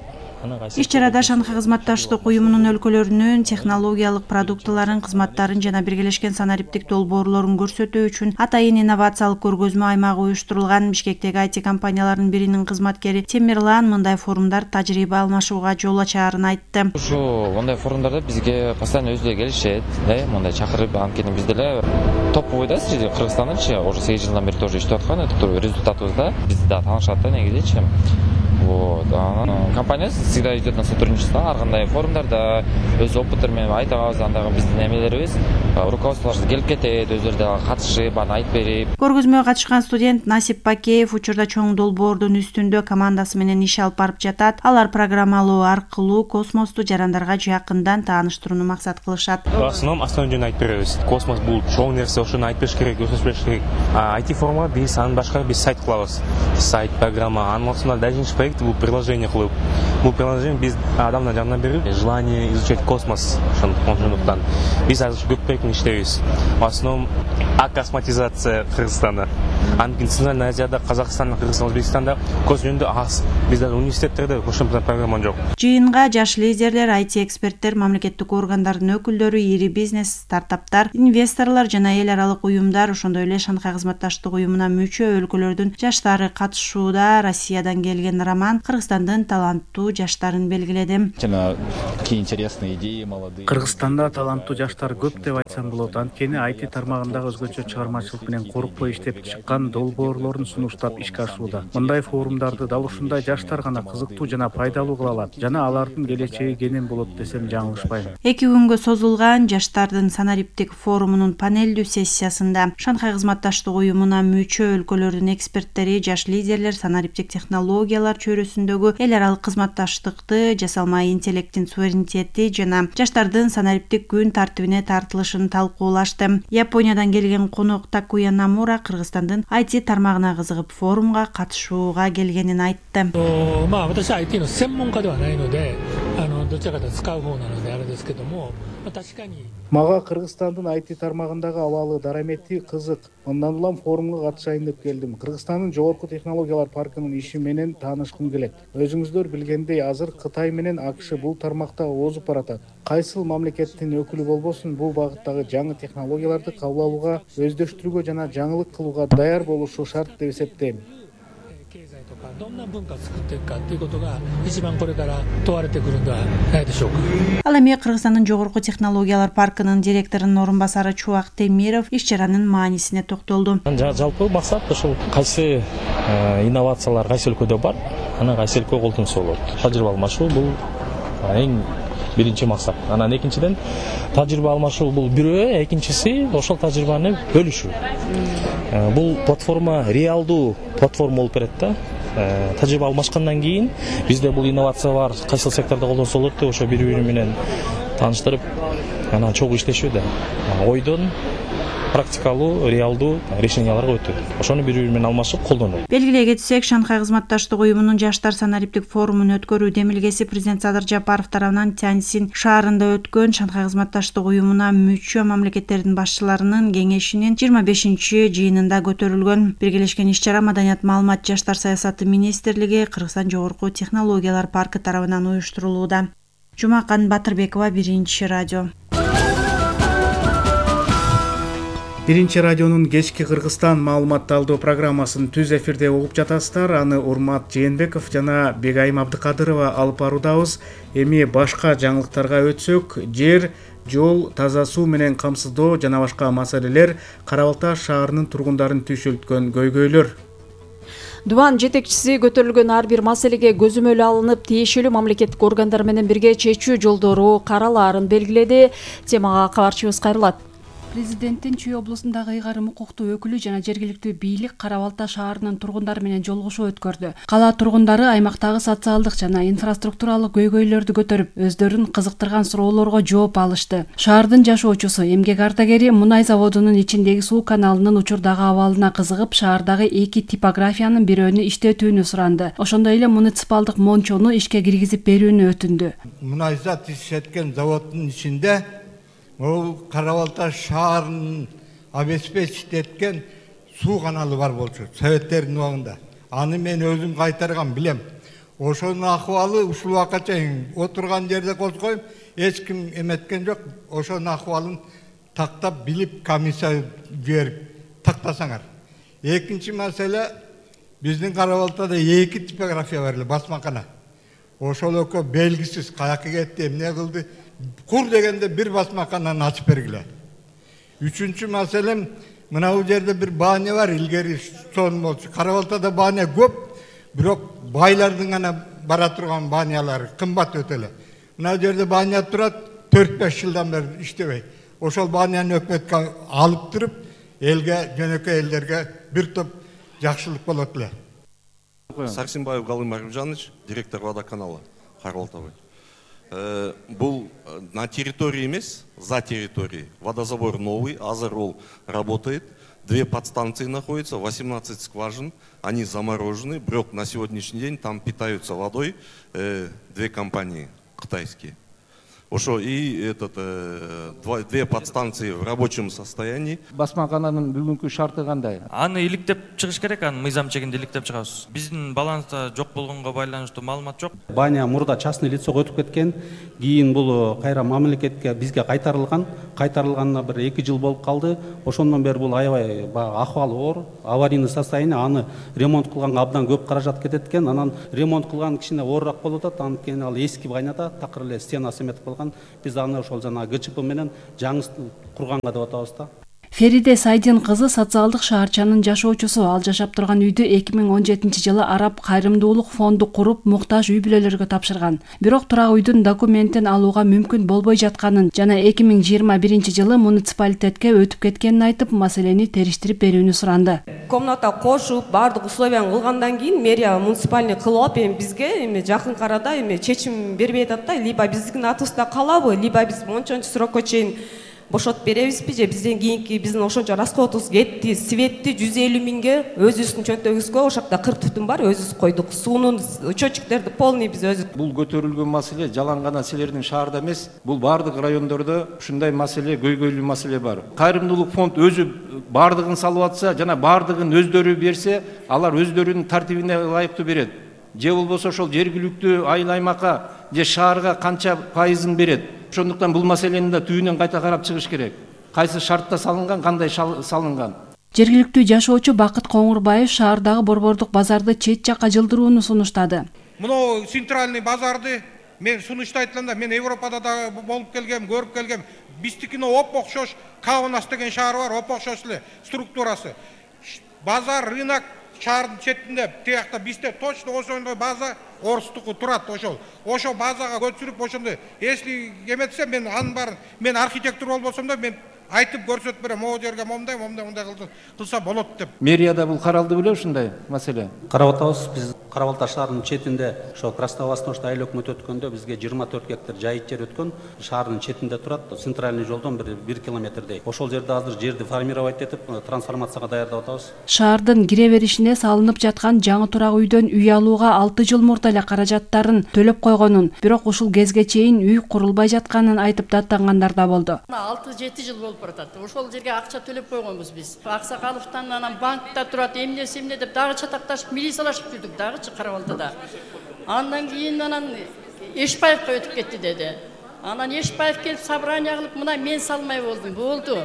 Иш-чарада Шанхай кызматташтык уюмунун өлкөлөрүнүн технологиялык продуктыларын, кызматтарын жана биргелешкен санариптик долбоорлорун көрсөтүү үчүн атайын инновациялык көргөзмө аймагы уюштурулган. Бишкектеги IT компанияларынын биринин кызматкери Темирлан мындай форумдар тажрыйба алмашууга жол ачаарын айтты. Ушу мындай форумдарда бизге постоянно өзүлөр келишет, мындай чакырып, анткени биз деле топовой да среди Кыргызстандачы, уже 8 жылдан бери тоже иштеп аткан, это результатыбыз да, бизди да таанышат да негизичи. Вот. Компания всегда идет на сотрудничество. Ар кандай форумдарда өз опыттары менен айта алабыз, андагы биздин эмелерибиз, руководстволорубуз келип кетет, өзүлөрү да катышып, аны айтып берип. Көргөзмөгө катышкан студент Насип Пакеев учурда чоң долбоордун үстүндө командасы менен иш алып барып жатат. Алар программалоо аркылуу космосту жарандарга жакындан тааныштырууну максат кылышат. В основном основной жөнүн айтып беребиз. Космос бул чоң нерсе, ошону айтып бериш керек, көрсөтүш керек. IT форумга биз анын башка биз сайт кылабыз. Сайт, программа, анын ортосунда дальше проект бул приложение кылып. Бул приложение биз адамдын жанына берип, желание изучать космос ошондуктан биз азыр көп проекттин иштейбиз. В основном акосматизация Кыргызстана. Анткени Центральная Азияда, Казакстанда, Кыргызстанда, Өзбекстанда космос жөнүндө аз. Бизде университеттерде ошондой программа жок. Жыйынга жаш лидерлер, IT эксперттер, мамлекеттик органдардын өкүлдөрү, ири бизнес, стартаптар, инвесторлор жана эл аралык уюмдар, ошондой эле Шанхай кызматташтык уюмуна мүчө өлкөлөрдүн жаштары катышууда. Россиядан келген Роман Кыргызстандын таланттуу жаштарын белгиледи. Кыргызстанда таланттуу жаштар көп деп айтсам болот. Анткени IT тармагындагы өзгөчө чыгармачылык менен коркпой иштеп чыккан долбоорлорун сунуштап ишке ашууда. Мындай форумдарды дал ушундай жаштар гана кызыктуу жана пайдалуу кыла алат. Жана алардын келечеги кенен болот десем жаңылышпайм. 2 күнгө созулган жаштардын санариптик форумунун панелдүү сессиясында Шанхай кызматташтык уюмуна мүчө өлкөлөрдүн эксперттери, жаш лидерлер санариптик технологиялар чөйрөсүндөгү эл аралык кызматташтыкты, жасалма интеллекттин суверенитети жана жаштардын санариптик күн тартибине тартылышын талкуулашты. Япониядан келген конок Такуя Намура Кыргызстандын IT тармагына кызыгып форумга катышууга келгенин айтты. Мага Кыргызстандын IT тармагындагы абалы дарамети кызык. Мындан улам форумга катышайын деп келдим. Кыргызстандын жогорку технологиялар паркынын иши менен таанышкым келет. Өзүңүздөр билгендей, азыр Кытай менен АКШ бул тармакта озуп баратат. Кайсыл мамлекеттин өкүлү болбосун, бул багыттагы жаңы технологияларды кабыл алууга, өздөштүрүүгө жана жаңылык кылууга даяр болушу шарт деп эсептейм. どんな文化を作っていくかということが一番これから問われてくるんではないでしょうか。 Ал эми Кыргызстандын жогорку технологиялар паркынын директорунун орун басары Чубак Темиров иш-чаранын маанисине токтолду. Жалпы максат ушул кайсы инновациялар кайсы өлкөдө бар, анан кайсы өлкө колдонсо болот. Тажрыйба алмашуу бул эң биринчи максат. Анан экинчиден тажрыйба алмашуу бул бирөө, экинчиси ошол тажрыйбаны бөлүшүү. Бул платформа реалдуу платформа болуп берет да. Тажрыйба алмашкандан кийин бизде бул инновация бар, кайсыл сектордо колдонсо болот деп ошо бири-бири менен тааныштырып, анан чогуу иштешүү да. Ойдон практикалуу, реалдуу решенияларга өтүү. Ошону бири-бири менен алмашып колдонуу. Белгилей кетсек, Шанхай кызматташтык уюмунун жаштар санариптик форумун өткөрүү демилгеси президент Садыр Жапаров тарабынан Тяньсин шаарында өткөн Шанхай кызматташтык уюмуна мүчө мамлекеттердин башчыларынын кеңешинин 25-жыйынында көтөрүлгөн. Биргелешкен иш-чара Маданият, маалымат, жаштар саясаты министрлиги Кыргызстан жогорку технологиялар паркы тарабынан уюштурулууда. Жумакан Батырбекова, Биринчи радио. Биринчи радионун кечки Кыргызстан маалыматталдоо программасын түз эфирде угуп жатасыздар. Аны Урмат Жээнбеков жана Бегайым Абдыкадырова алып баруудабыз. Эми башка жаңылыктарга өтсөк, жер, жол, таза суу менен камсыздоо жана башка маселелер Кара Балта шаарынын тургундарын түйшөлткөн көйгөйлөр. Дубан жетекчиси көтөрүлгөн ар бир маселеге көзөмөл алынып, тиешелүү мамлекеттик органдар менен бирге чечүү жолдору каралаарын белгиледи. Темага кабарчыбыз кайрылат. Президенттин Чүй облусундагы ыйгарым укуктуу өкүлү жана жергиликтүү бийлик Кара Балта шаарынын тургундары менен жолугушуу өткөрдү. Кала тургундары аймактагы социалдык жана инфраструктуралык көйгөйлөрдү көтөрүп, өздөрүн кызыктырган суроолорго жооп алышты. Шаардын жашоочусу, эмгек ардагери мунай заводунун ичиндеги суу каналынын учурдагы абалына кызыгып, шаардагы 2 типографиянын бирөөнү иштетүүнү суранды. Ошондой эле муниципалдык мончону ишке киргизип берүүнү өтүндү. Мунай зат иштеткен заводдун ичинде ол Кара Балта шаарынын обеспечить эткен суу каналы бар болчу советтердин убагында. Аны мен өзүм кайтарган билем. Ошонун акыбалы ушул убакка чейин отурган жерде козгойм, эч ким эметкен жок. Ошонун акыбалын тактап билип комиссия жиберип тактасаңар. Экинчи маселе, биздин Кара Балтада 2 типография бар эле, басмакана. Ошол экөө белгисиз каяка кетти, эмне кылды? Кур дегенде бир басмакананы ачып бергиле. Үчүнчү маселем, мына бул жерде бир бааня бар, илгери сон болчу. Кара Балтада бааня көп, бирок байлардын гана бара турган баанялары кымбат өтө эле. Мына жерде бааня турат, 4-5 жылдан бери иштебей. Ошол бааняны өкмөткө алып туруп, элге, жөнөкөй элдерге бир топ жакшылык болот эле. Сарсенбаев Галым Арымжанович, директор водоканала Кара Балта. Был на территории эмес, за территорией. Водозабор новый, азыр ол работает. 2 подстанции находятся, 18 скважин, они заморожены. Брок на сегодняшний день там питаются водой 2 компании китайские. Ошо и 2 подстанции в рабочем состоянии. Басмакананын бүгүнкү шарты кандай? Аны иликтеп чыгыш керек, аны мыйзам чегинде иликтеп чыгабыз. Биздин баланста жок болгонго байланыштуу маалымат жок. Бааня мурда частный лицого өтүп кеткен, кийин бул кайра мамлекетке бизге кайтарылган. Кайтарылганына бир 2 жыл болуп калды. Ошондон бери бул аябай акыбалы оор, аварийный состояние, аны ремонт кылганга абдан көп каражат кетет экен. Анан ремонт кылган кичине оорураак болуп атат. Анткени ал эски байнада такыр эле стенасы эметип калган. Биз аны ошол жана ГЧП менен жаңы курганга деп атабыз да. Фериде Сайдин кызы социалдык шаарчанын жашоочусу. Ал жашап турган үйдү 2017-жылы Араб кайрымдуулук фонду куруп, муктаж үй бүлөлөргө тапшырган. Бирок турак үйдүн документин алууга мүмкүн болбой жатканын жана 2021-жылы муниципалитетке өтүп кеткенин айтып, маселени териштирип берүүнү суранды. Комната кошуп, бардык условияны кылгандан кийин мэрия муниципальный кылып, бизге жакын арада чечим бербей атат да, либо биздин атыбызда калабы, либо биз мончончу срокко чейин бошотуп беребизби же бизден кийинки биздин ошончо расходубуз кетти. Светти 150 миңге өзүбүздүн чөнтөгүбүзгө ошакта 40 түтүн бар, өзүбүз койдук. Суунун счетчиктерди полный биз өзүбүз. Бул көтөрүлгөн маселе жалаң гана силердин шаарда эмес, бул бардык райондордо ушундай маселе, көйгөйлүү маселе бар. Кайрымдуулук фонд өзү бардыгын салып атса жана бардыгын өздөрү берсе, алар өздөрүнүн тартибине ылайыктуу берет. Же болбосо ошол жергиликтүү айыл аймакка же шаарга канча пайызын берет. Ошондуктан бул маселени да түбүнөн кайта карап чыгыш керек. Кайсы шартта салынган, кандай салынган. Жергиликтүү жашоочу Бакыт Коңурбаев шаардагы борбордук базарды чет жакка жылдырууну сунуштады. Мына центральный базарды мен сунуштайт да, мен Европада да болуп келгем, көрүп келгем. Биздикине оп-окшош Каунас деген шаар бар, оп-окшош эле структурасы. Базар, рынок шаардын четинде, тиякта бизде точно ошондой база орустуку турат ошол. Ошо базага көчүрүп ошондой, если эметсе мен анын баарын, мен архитектор болбосом да мен айтып көрсөтүп берем, могу жерге момундай кылса болот деп. Мэрияда бул каралды беле ушундай маселе? Карап атабыз. Биз Кара Балта шаарынын четинде ошо Красновосточный айыл өкмөтү өткөндө бизге 24 гектар жайыт жер өткөн. Шаардын четинде турат. Центральный жолдон 1 километрдей. Ошол жерде азыр жерди формировать этип, трансформацияга даярдап атабыз. Шаардын кире беришине салынып жаткан жаңы турак үйдөн үй алууга 6 жыл мурда эле каражаттарын төлөп койгонун, бирок ушул кезге чейин үй курулбай жатканын айтып даттангандар да болду. 6-7 жыл болуп баратат. Ошол жерге акча төлөп койгонбуз биз. Аксакаловдон анан банкта турат, эмне деп дагы чатакташып, милициялашып жүрдүк дагычы Кара Балтада. Андан кийин анан Эшбаевка өтүп кетти деди. Анан Эшбаев келип собрание кылып, мына мен салмай болдум. Болду.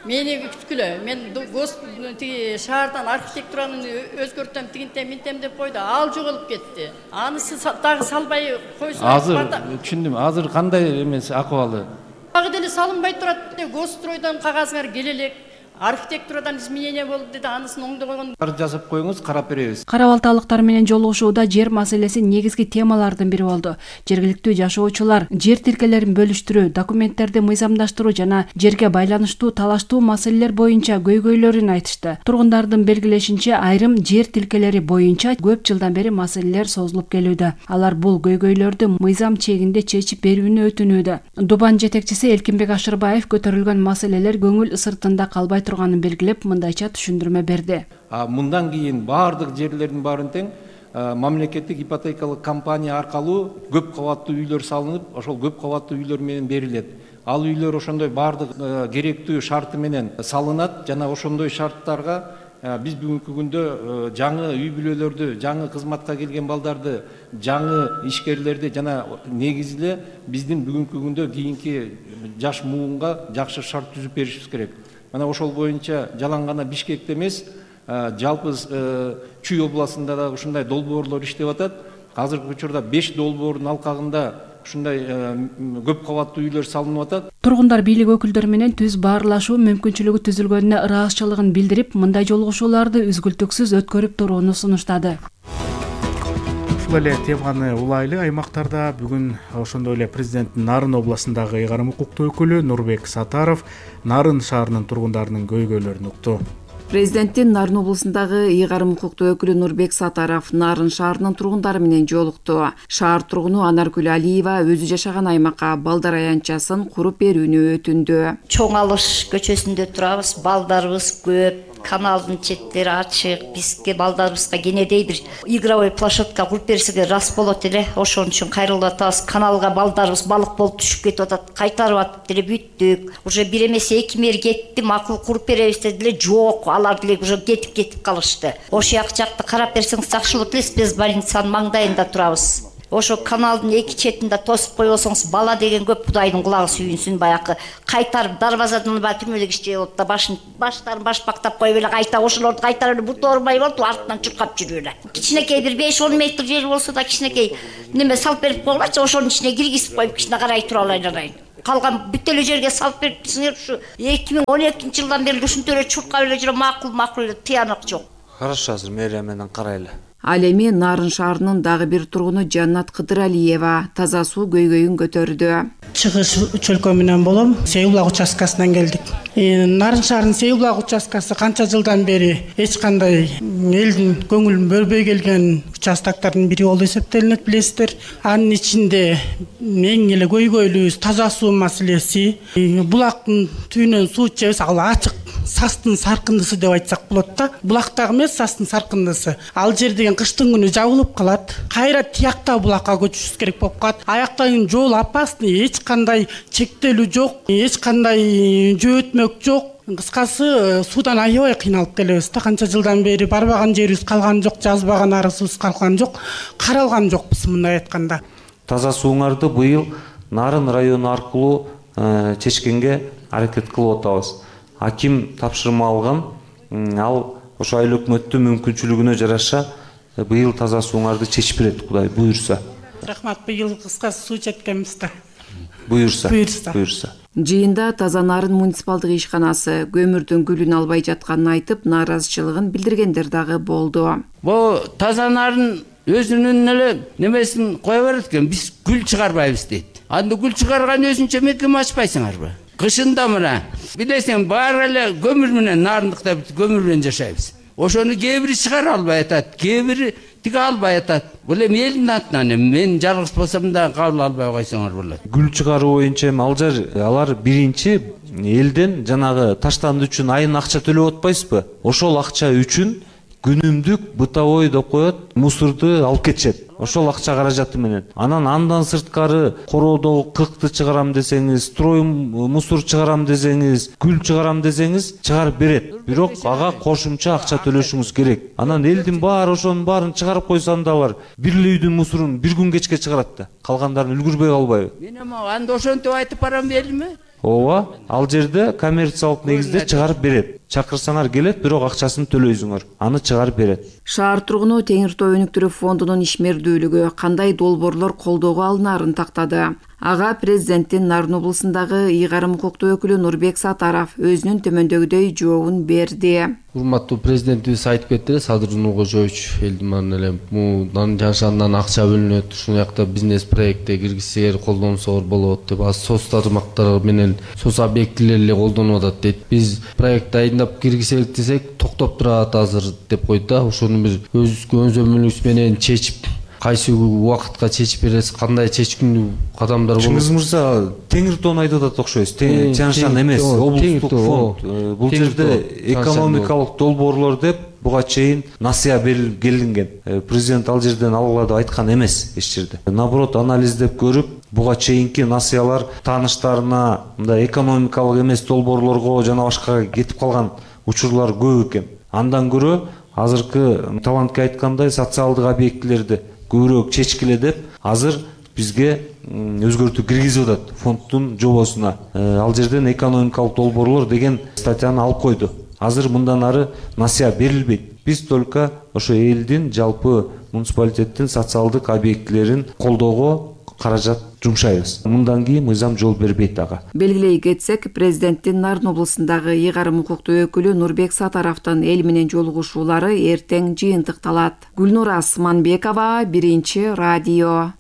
Мени күткүлө. Мен тиги шаардан архитектураны өзгөртөм, тигинтем, минтем деп койду. Ал жоголуп кетти. Анысы дагы салбай койсо. Азыр түшүндүм. Азыр кандай эмес акыбалы? Дагы деле салынбай турат. Госстройдон кагазыңар келе элек. Архитектурадан изменение болду деди, анысын оңдогон. Жазып коюңуз, карап беребиз. Кара Балталыктар менен жолугушууда жер маселеси негизги темалардын бири болду. Жергиликтүү жашоочулар жер тилкелерин бөлүштүрүү, документтерди мыйзамдаштыруу жана жерге байланыштуу талаштуу маселелер боюнча көйгөйлөрүн айтышты. Тургундардын белгилешинче, айрым жер тилкелери боюнча көп жылдан бери маселелер созулуп келүүдө. Алар бул көйгөйлөрдү мыйзам чегинде чечип берүүнү өтүнүүдө. Дубан жетекчиси Элкинбек Ашырбаев көтөрүлгөн маселелер көңүл сыртында калбай турганын белгилеп, мындайча түшүндүрмө берди. Мындан кийин баардык жерлердин баарын тең мамлекеттик ипотекалык компания аркылуу көп кабаттуу үйлөр салынып, ошол көп кабаттуу үйлөр менен берилет. Ал үйлөр ошондой баардык керектүү шарты менен салынат жана ошондой шарттарга биз бүгүнкү күндө жаңы үй бүлөлөрдү, жаңы кызматка келген балдарды, жаңы ишкерлерди жана негизи эле биздин бүгүнкү күндө кийинки жаш муунга жакшы шарт түзүп беришибиз керек. Мына ошол боюнча жалаң гана Бишкекте эмес, жалпы Чүй областында да ушундай долбоорлор иштеп атат. Азыркы учурда 5 долбоордун алкагында ушундай көп кабаттуу үйлөр салынып атат. Тургундар бийлик өкүлдөрү менен түз баарлашуу мүмкүнчүлүгү түзүлгөнүнө ыраазычылыгын билдирип, мындай жолугушууларды үзгүлтүксүз өткөрүп турууну сунуштады. Ушул эле теманы улайлы аймактарда бүгүн ошондой эле президенттин Нарын областындагы ыйгарым укуктуу өкүлү Нурбек Сатаров Нарын шаарынын тургундарынын көйгөйлөрүн укту. Президенттин Нарын областындагы ыйгарым укуктуу өкүлү Нурбек Сатаров Нарын шаарынын тургундары менен жолукту. Шаар тургуну Анаркүл Алиева өзү жашаган аймакка балдар аянтчасын куруп берүүнү өтүндү. Чоң Алыш көчөсүндө турабыз, балдарыбыз көп. Каналдын четтери ачык, бизге балдарыбызга кенедей бир игровой площадка куруп берсеге рас болот эле. Ошон үчүн кайрылып атабыз. Каналга балдарыбыз балык болуп түшүп кетип атат. Кайтарып атып деле бүттүк. Уже бир эмес 2 мэр кетти, макул куруп беребиз деди, жок, алар деле уже кетип калышты. Ошол жакты карап берсеңиз жакшы болот эле, биз больницанын маңдайында турабыз. Ошо каналдын 2 четинде тосуп койбосоңуз бала деген көп, Кудайдын кулагы сүйүнсүн, баягы кайтарып дарбазадан түрмөдөгү иштеп болот да баштарын башпактап коюп эле кайта ошолорду кайтарып эле бут оорубай болуп артынан чуркап жүрүп эле. Кичинекей бир 5-10 метр жер болсо да кичинекей неме салып берип койгулачы, ошонун ичине киргизип коюп кичине карай тура алайын. Калган бүт эле жерге салып берипсиңер, ушу 2012-жылдан бери ушинтип эле чуркап эле жүрөм, макул эле тыянак жок. Хорошо, азыр мэрия менен карайлы. Ал эми Нарын шаарынын дагы бир тургуну Жаннат Кыдыралиева таза суу көйгөйүн көтөрдү. Чыгыш чөлкө менен болом, Сейбулак участкасынан келдик. Нарын шаарынын Сейбулак участкасы канча жылдан бери эч кандай элдин көңүлүн бөлбөй келген участоктордун бири болуп эсептелинет, билесиздер. Анын ичинде эң эле көйгөйлүүбүз таза суу маселеси. Булактын түбүнөн суу ичебиз, ал ачык састын саркындысы деп айтсак болот да. Булактагы эмес, састын саркындысы. Ал жер деген кыштын күнү жабылып калат. Кайра тиякта булакка көчүшүбүз керек болуп калат. Аяктагы жол опасный, эч кандай чектелүү жок, эч кандай жөөтмөк жок. Кыскасы суудан аябай кыйналып келебиз да. Канча жылдан бери барбаган жерибиз калган жок, жазбаган арызыбыз калган жок, каралган жокпуз мындай айтканда. Таза сууңарды быйыл Нарын району аркылуу чечкенге аракет кылып атабыз. Аким тапшырма алган, ал ошо айыл өкмөттүн мүмкүнчүлүгүнө жараша быйыл таза сууңарды чечип берет, Кудай буюрса. Рахмат, быйыл кыскасы суу четкенбиз да. Буюрса. Жыйында Таза Нарын муниципалдык ишканасы көмүрдүн күлүн албай жатканын айтып, нааразычылыгын билдиргендер дагы болду. Бул Таза Нарын өзүнүн эле немесин кое берет экен, биз гүл чыгарбайбыз дейт. Анда гүл чыгарган өзүнчө мекеме ачпайсыңарбы? Кышында мына билесиң, баары эле көмүр менен, нарындыкта көмүр менен жашайбыз. Ошону кээ бири чыгара албай атат, кээ бири тиге албай атат. Бул эми элдин атынан, мен жалгыз болсом да кабыл албай койсоңор болот. Гүл чыгаруу боюнча алар биринчи элден жанагы таштанды үчүн айын акча төлөп атпайсызбы? Ошол акча үчүн күнүмдүк бытовой деп коет, мусорду алып кетишет. Ошол акча каражаты менен. Андан сырткары короодогу кыкты чыгарам десеңиз, строй мусор чыгарам десеңиз, гүл чыгарам десеңиз, чыгарып берет. Бирок ага кошумча акча төлөшүңүз керек. Анан элдин баары ошонун баарын чыгарып койсо анда алар бир эле үйдүн мусорун бир күн кечке чыгарат да. Калгандарын үлгүрбөй калбайбы? Мен анда ошентип айтып барам белими? Ооба, ал жерде коммерциялык негизде чыгарып берет. Чакырсаңар келет, бирок акчасын төлөйсүңөр. Аны чыгарып берет. Шаар тургуну Теңир Тоо өнүктүрүү фондунун ишмердүүлүгү кандай долбоорлор колдоого алынаарын тактады. Ага президенттин Нарын облусундагы ыйгарым укуктуу өкүлү Нурбек Сатаров өзүнүн төмөндөгүдөй жообун берди. Урматтуу президентибиз айтып кетти, Садыр Нуркожоевич элдин эле Нарын жашанынан акча бөлүнөт, ушул жакта бизнес проектте киргизсеңер, колдонсоңор болот деп, аз соц тармактар менен соц объектилер эле колдонуп атат дейт. Биз проект дайындап киргизелик десек, токтоп турат азыр деп койду да. Ошону бир өз көзөмөлүңүз менен чечип, кайсы убакытка чечип бересиз, кандай чечкиндүү кадамдар болот? Чыңгыз мырза, Теңир Тоону айтып атат окшойсуз. Чаңшан эмес, облустук фонд. Бул жерде экономикалык долбоорлор деп буга чейин насыя берилип келинген. Президент ал жерден алгыла деп айткан эмес эч жерде. Наоборот, анализдеп көрүп, буга чейинки насыялар тааныштарына, мындай экономикалык эмес долбоорлорго жана башкага кетип калган учурлар көп экен. Андан көрө азыркы талантка айткандай социалдык объектилерди көбүрөөк чечкиле деп азыр бизге өзгөртүү киргизип атат фонддун жобосуна. Ал жерден экономикалык долбоорлор деген статьяны алып койду. Азыр мындан ары насыя берилбейт. Биз только ошо элдин жалпы муниципалитеттин социалдык объектилерин колдоого каражат жумшайбыз. Мындан кийин мыйзам жол бербейт ага. Белгилей кетсек, президенттин Нарын облусундагы ыйгарым укуктуу өкүлү Нурбек Сатаровдун эл менен жолугушуулары эртең жыйынтыкталат. Гүлнур Асманбекова, Биринчи радио.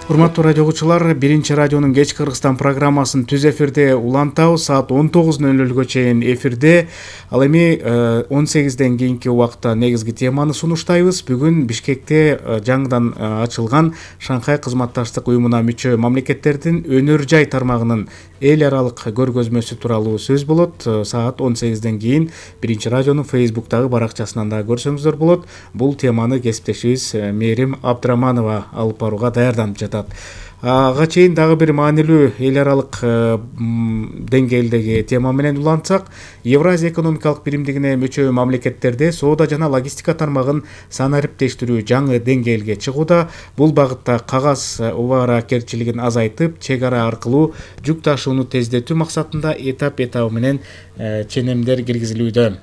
Урматтуу радио угуучулар, Биринчи радионун кечки Кыргызстан программасын түз эфирде улантабыз. Саат 19:00 чейин эфирде. Ал эми 18ден кийинки убакта негизги теманы сунуштайбыз. Бүгүн Бишкекте жаңыдан ачылган Шанхай кызматташтык уюмуна мүчө мамлекеттердин өнөр жай тармагынын эл аралык көргөзмөсү тууралуу сөз болот. Саат 18ден кийин Биринчи радионун Facebook'тагы баракчасынан да көрсөңүздөр болот. Бул теманы кесиптешибиз Мээрим Абдыраманова алып барууга даярданып жатат. Ага чейин дагы бир маанилүү эл аралык деңгээлдеги тема менен улантсак, Евразия экономикалык биримдигине мүчө мамлекеттерде соода жана логистика тармагын санариптештирүү жаңы деңгээлге чыгууда. Бул багытта кагаз убааракерчилигин азайтып, чек ара аркылуу жүк ташууну тездетүү максатында этап менен ченемдер киргизилүүдө.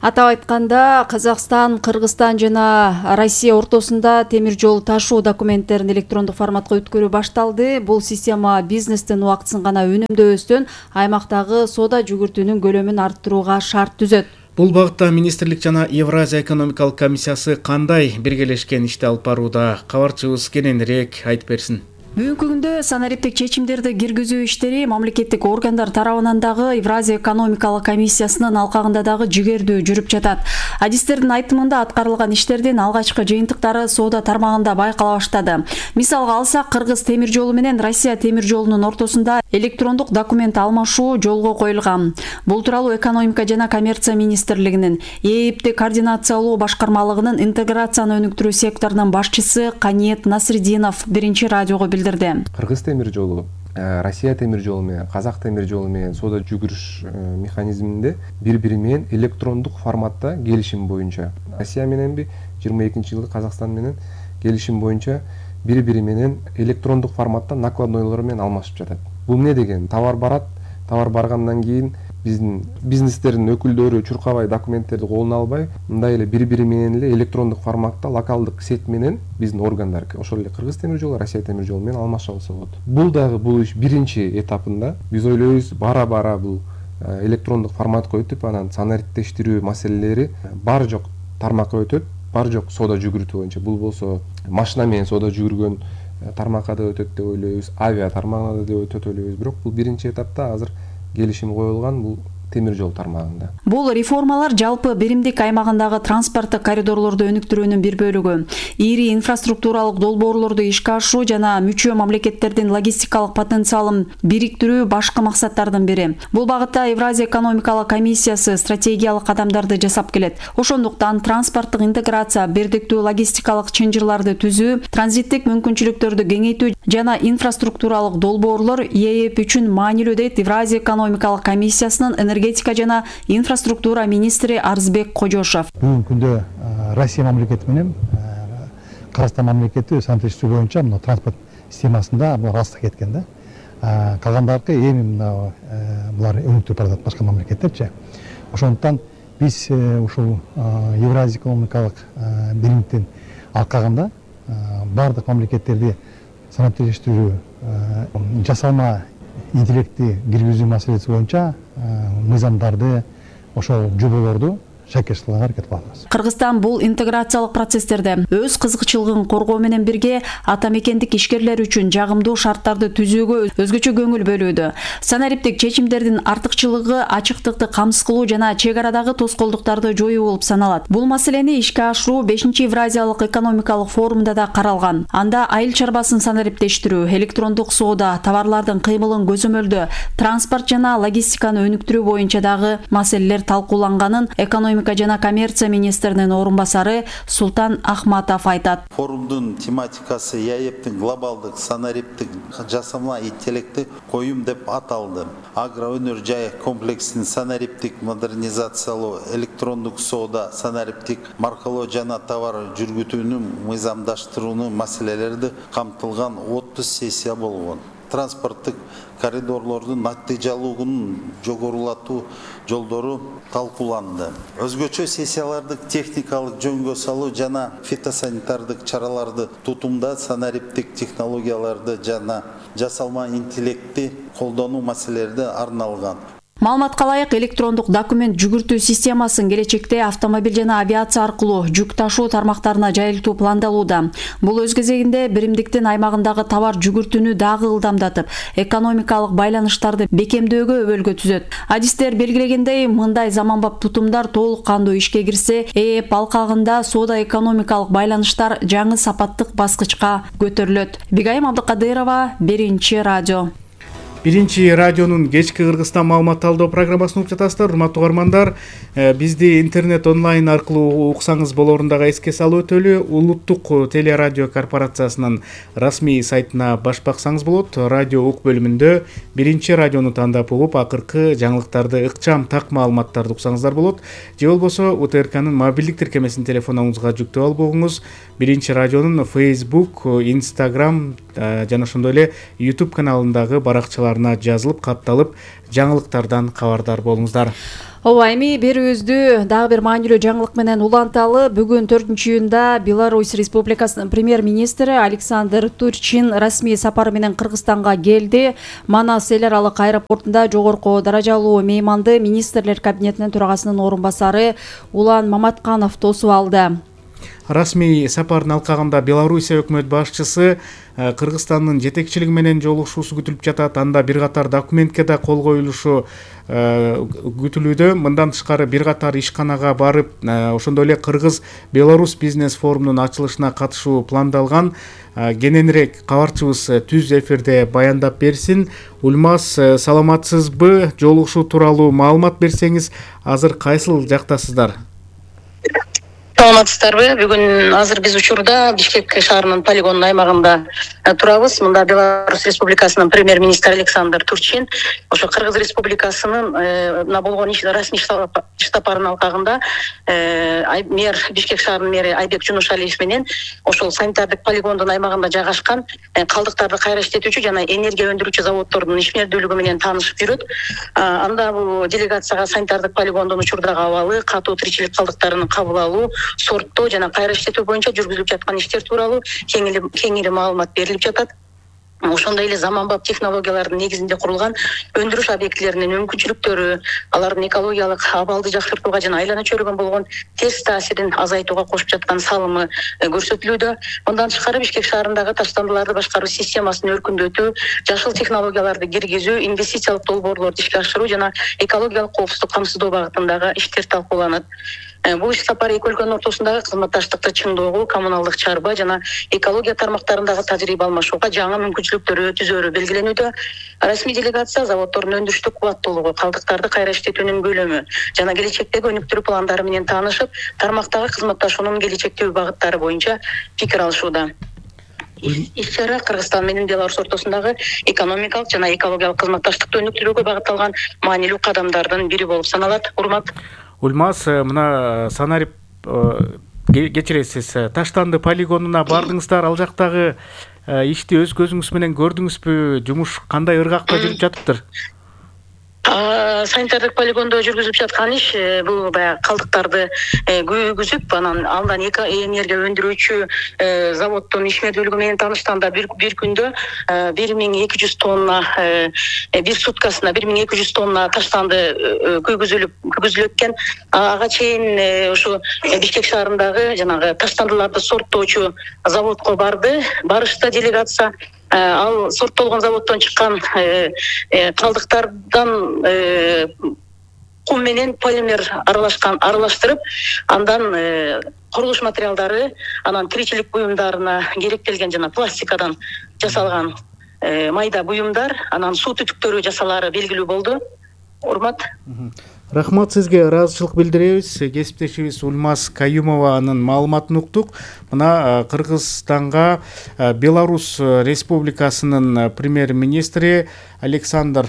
Атап айтканда, Казакстан, Кыргызстан жана Россия ортосунда темир жол ташуу документтерин электрондук форматка өткөрүү башталды. Бул система бизнестин убактысын гана үнөмдөбөстөн аймактагы соода жүгүртүүнүн көлөмүн арттырууга шарт түзөт. Бул багытта министрлик жана Евразия экономикалык комиссиясы кандай биргелешкен ишти алып барууда? Кабарчыбыз кененирээк айтып берсин. Бүгүнкү күндө санариптик чечимдерди киргизүү иштери мамлекеттик органдар тарабынан дагы Евразия экономикалык комиссиясынын алкагында дагы жигердүү жүрүп жатат. Адистердин айтымында аткарылган иштердин алгачкы жыйынтыктары соода тармагында байкала баштады. Мисалга алсак, Кыргыз темир жолу менен Россия темир жолунун ортосунда электрондук документ алмашуу жолго коюлган. Бул тууралуу экономика жана коммерция министрлигинин ээпти координациялоо башкармалыгынын интеграцияны өнүктүрүү секторунун башчысы Каниет Насридинов Биринчи радиого билдирди. Кыргыз темир жолу, Россия темир жолу менен, Казак темир жолу менен соода жүгүрүш механизминде бири-бири менен электрондук форматта келишим боюнча, Россия мененби 22-жылы Казакстан менен келишим боюнча бири-бири менен электрондук форматта накладнойлор менен алмашып жатат. Бул эмне деген? Товар барат, товар баргандан кийин биздин бизнестердин өкүлдөрү чуркабай документтерди колуна албай, мындай эле бири менен эле электрондук форматта локалдык сет менен биздин органдар, ошол эле Кыргыз темир жолу, Россия темир жолу менен алмаша алса болот. Бул дагы бул иш биринчи этапында. Биз ойлойбуз, бара бул электрондук форматка өтүп, анан санариптештирүү маселелери бар жок тармакка өтөт, бар жок соода жүгүртүү боюнча. Бул болсо машина менен соода жүгүргөн тармакка да өтөт деп ойлойбуз, авиа тармагына да деп өтөт ойлойбуз. Бирок бул биринчи этапта азыр келишим коюлган бул темир жол тармагында. Бул реформалар жалпы биримдик аймагындагы транспорттук коридорлорду өнүктүрүүнүн бир бөлүгү. Ири инфраструктуралык долбоорлорду ишке ашыруу жана мүчө мамлекеттердин логистикалык потенциалын бириктирүү башкы максаттардын бири. Бул багытта Евразия экономикалык комиссиясы стратегиялык кадамдарды жасап келет. Ошондуктан транспорттук интеграция, бирдиктүү логистикалык чынжырларды түзүү, транзиттик мүмкүнчүлүктөрдү кеңейтүү жана инфраструктуралык долбоорлор ЕЭП үчүн маанилүү дейт Евразия экономикалык комиссиясынын энергетика жана инфраструктура министри Арзбек Кожошов. Бүгүнкү күндө Россия мамлекети менен Кыргызстан мамлекети санариптештирүү боюнча мына транспорт системасында алыста кеткен да. Калгандаркы эми булар өнүктүрүп баратат башка мамлекеттерчи. Ошондуктан биз ушул Евразия экономикалык биримдиктин алкагында бардык мамлекеттерди санариптештирүү, жасалма интеллектти киргизүү маселеси боюнча мыйзамдарды, ошол жоболорду шакеш кылганга аракет кылабыз. Кыргызстан бул интеграциялык процесстерде өз кызыкчылыгын коргоо менен бирге ата мекендик ишкерлер үчүн жагымдуу шарттарды түзүүгө өзгөчө көңүл бөлүүдө. Санариптик чечимдердин артыкчылыгы ачыктыкты камсыз кылуу жана чек арадагы тоскоолдуктарды жоюу болуп саналат. Бул маселени ишке ашыруу 5-Евразиялык экономикалык форумда да каралган. Анда айыл чарбасын санариптештирүү, электрондук соода, товарлардын кыймылын көзөмөлдөө, транспорт жана логистиканы өнүктүрүү боюнча дагы маселелер талкууланганын экономика жана коммерция министринин орун басары Султан Ахматов айтат. Форумдун тематикасы ЕЭПтин глобалдык санариптик жасалма интеллекти коюм деп аталды. Агроөнөр жай комплексин санариптик модернизациялоо, электрондук соода, санариптик маркалоо жана товар жүргүтүүнү мыйзамдаштырууну маселелери камтылган 30 сессия болгон. Транспорттук коридорлордун натыйжалуулугун жогорулатуу жолдору талкууланды. Өзгөчө сессиялардык техникалык жөнгө салуу жана фитосанитардык чараларды тутумда санариптик технологияларды жана жасалма интеллектти колдонуу маселелери арналган. Маалыматка ылайык электрондук документ жүгүртүү системасын келечекте автомобиль жана авиация аркылуу жүк ташуу тармактарына жайылтуу пландалууда. Бул өз кезегинде биримдиктин аймагындагы товар жүгүртүүнү дагы ылдамдатып, экономикалык байланыштарды бекемдөөгө өбөлгө түзөт. Адистер белгилегендей, мындай заманбап тутумдар толук кандуу ишке кирсе, ЭЭП алкагында соода экономикалык байланыштар жаңы сапаттык баскычка көтөрүлөт. Бигайым Абдыкадырова, Биринчи радио. Биринчи радионун кечки Кыргызстан маалымат алуу программасын угуп жатасыздар, урматтуу угармандар. Бизди интернет онлайн аркылуу уксаңыз болорун дагы эске салып өтөлү. Улуттук телерадио корпорациясынын расмий сайтына баш баксаңыз болот. Радио ук бөлүмүндө Биринчи радиону тандап угуп, акыркы жаңылыктарды, ыкчам так маалыматтарды уксаңыздар болот. Же болбосо УТРКнын мобилдик тиркемесин телефонуңузга жүктөп алып коюңуз. Биринчи радионун Facebook, Instagram жана ошондой эле YouTube каналындагы баракчаларына жазылып, катталып, жаңылыктардан кабардар болуңуздар. Ооба, эми берүүбүздү дагы бир маанилүү жаңылык менен уланталы. Бүгүн 4-июнда Беларусь Республикасынын премьер-министри Александр Турчин расмий сапары менен Кыргызстанга келди. Манас эл аралык аэропортунда жогорку даражалуу мейманды министрлер кабинетинин төрагасынын орун басары Улан Маматканов тосуп алды. Расмий сапардын алкагында Белоруссия өкмөт башчысы Кыргызстандын жетекчилиги менен жолугушуусу күтүлүп жатат. Анда бир катар документке да кол коюлушу күтүлүүдө. Мындан тышкары бир катар ишканага барып, ошондой эле Кыргыз-Беларусь бизнес форумунун ачылышына катышуу пландалган. Кененирээк кабарчыбыз түз эфирде баяндап берсин. Ульмаз, саламатсызбы? Жолугушуу тууралуу маалымат берсеңиз, азыр кайсыл жактасыздар? Саламатсыздарбы? Бүгүн азыр биз учурда Бишкек шаарынын полигон аймагында турабыз. Мында Беларусь Республикасынын премьер-министри Александр Турчин ошо Кыргыз Республикасынын болгон расмий штабарынын алкагында мэр Бишкек шаарынын мэри Айбек Жунушалиев менен ошол санитардык полигондун аймагында жайгашкан калдыктарды кайра иштетүүчү жана энергия өндүрүүчү заводдордун ишмердүүлүгү менен таанышып жүрөт. Анда бул делегацияга санитардык полигондун учурдагы абалы, катуу тиричилик калдыктарынын кабыл алуу, сорттоо жана кайра иштетүү боюнча жүргүзүлүп жаткан иштер тууралуу кеңири маалымат берилип жатат. Ошондой эле заманбап технологиялардын негизинде курулган өндүрүш объектилеринин мүмкүнчүлүктөрү, алардын экологиялык абалды жакшыртууга жана айлана чөйрөгөн болгон терс таасирин азайтууга кошуп жаткан салымы көрсөтүлүүдө. Мындан тышкары Бишкек шаарындагы таштандыларды башкаруу системасын өркүндөтүү, жашыл технологияларды киргизүү, инвестициялык долбоорлорду ишке ашыруу жана экологиялык коопсуздук камсыздоо багытындагы иштер талкууланат. Бул иш сапар эки өлкөнүн ортосундагы кызматташтыкты чыңдоого, коммуналдык чарба жана экология тармактарындагы тажрыйба алмашууга жаңы мүмкүнчүлүктөр түзөөрү белгиленүүдө. Расмий делегация заводдордун өндүрүштүк кубаттуулугу, калдыктарды кайра иштетүүнүн көлөмү жана келечектеги өнүктүрүү пландары менен таанышып, тармактагы кызматташуунун келечектеги багыттары боюнча пикир алышууда. Иш-чара Кыргызстан менен Беларусь ортосундагы экономикалык жана экологиялык кызматташтыкты өнүктүрүүгө багытталган маанилүү кадамдардын бири болуп саналат. Урмат. Ульмаз, мына санарип кечиресиз, Таштанды полигонуна бардыңыздар, ал жактагы ишти өз көзүңүз менен көрдүңүзбү? Жумуш кандай ыргакта жүрүп жатыптыр? Санитардык полигондо жүргүзүлүп жаткан иш бул баягы калдыктарды күйгүзүп, андан энергия өндүрүүчү заводдун ишмердүүлүгү менен таанышканда бир күндө 1200 тонна, бир суткасына 1200 тонна таштанды күйгүзүлөт экен. Ага чейин ушу Бишкек шаарындагы жанагы таштандыларды сорттоочу заводко барышты делегация. Ал сорттолгон заводдон чыккан калдыктардан кум менен полимер аралаштырып, андан курулуш материалдары, анан тиричилик буюмдарына керектелген жана пластикадан жасалган майда буюмдар, анан суу түтүктөрү жасалаары белгилүү болду. Урмат. Рахмат сизге, ыраазычылык билдиребиз. Кесиптешибиз Ульмаз Каюмованын маалыматын уктук. Мына Кыргызстанга Беларусь Республикасынын премьер-министри Александр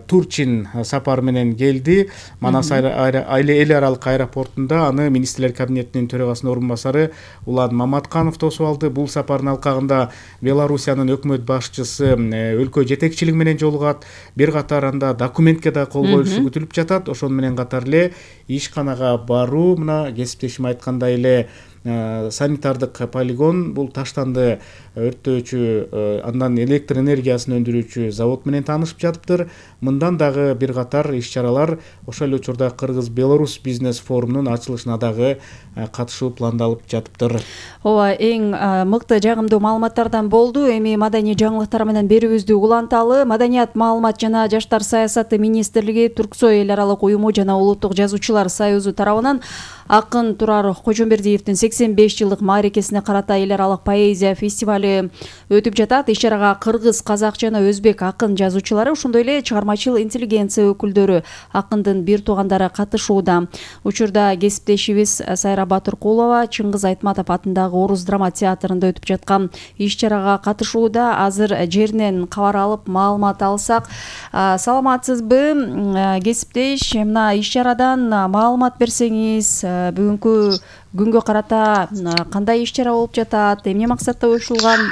Турчин сапар менен келди. Манас эл аралык аэропортунда аны министрлер кабинетинин төрагасынын орун басары Улан Маматканов тосуп алды. Бул сапардын алкагында Белоруссиянын өкмөт башчысы өлкө жетекчилиги менен жолугат. Бир катар анда документке да кол коюшу күтүлүп жатат. Ошону менен катар эле ишканага баруу, мына кесиптешим айткандай эле санитардык полигон бул таштанды өрттөөчү, андан электр энергиясын өндүрүүчү завод менен таанышып жатыптыр. Мындан дагы бир катар иш-чаралар ошол эле учурда Кыргыз-Беларусь бизнес форумунун ачылышына дагы катышуу пландалып жатыптыр. Ооба, эң мыкты жагымдуу маалыматтардан болду. Эми маданий жаңылыктар менен берүүбүздү уланталы. Маданият, маалымат жана жаштар саясаты министрлиги, Турксой эл аралык уюму жана Улуттук жазуучулар союзу тарабынан акын Турар Кожомбердиевдин 85 жылдык мааракесине карата эл аралык поэзия фестиваль өтүп жатат. Иш-чарага кыргыз, казак жана өзбек акын жазуучулары, ошондой эле чыгармачыл интеллигенция өкүлдөрү, акындын бир туугандары катышууда. Учурда кесиптешибиз Сайра Батыркулова Чыңгыз Айтматов атындагы Орус драма театрында өтүп жаткан иш-чарага катышууда. Азыр жеринен кабар алып маалымат алсак. Саламатсызбы, кесиптеш? Мына иш-чарадан маалымат берсеңиз, бүгүнкү күнгө карата кандай иш-чара болуп жатат, эмне максатта оюштурулган?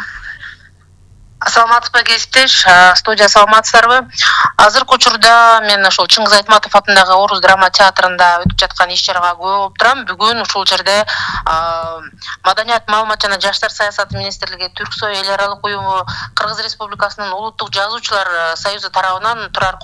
Саламатсызбы, кесиптеш? Студия, саламатсыздарбы? Азыркы учурда мен ошол Чыңгыз Айтматов атындагы Орус драма театрында өтүп жаткан иш-чарага күбө болуп турам. Бүгүн ушул жерде Маданият, маалымат жана жаштар саясаты министрлиги, Түрксой эл аралык уюму, Кыргыз Республикасынын Улуттук жазуучулар союзу тарабынан Турар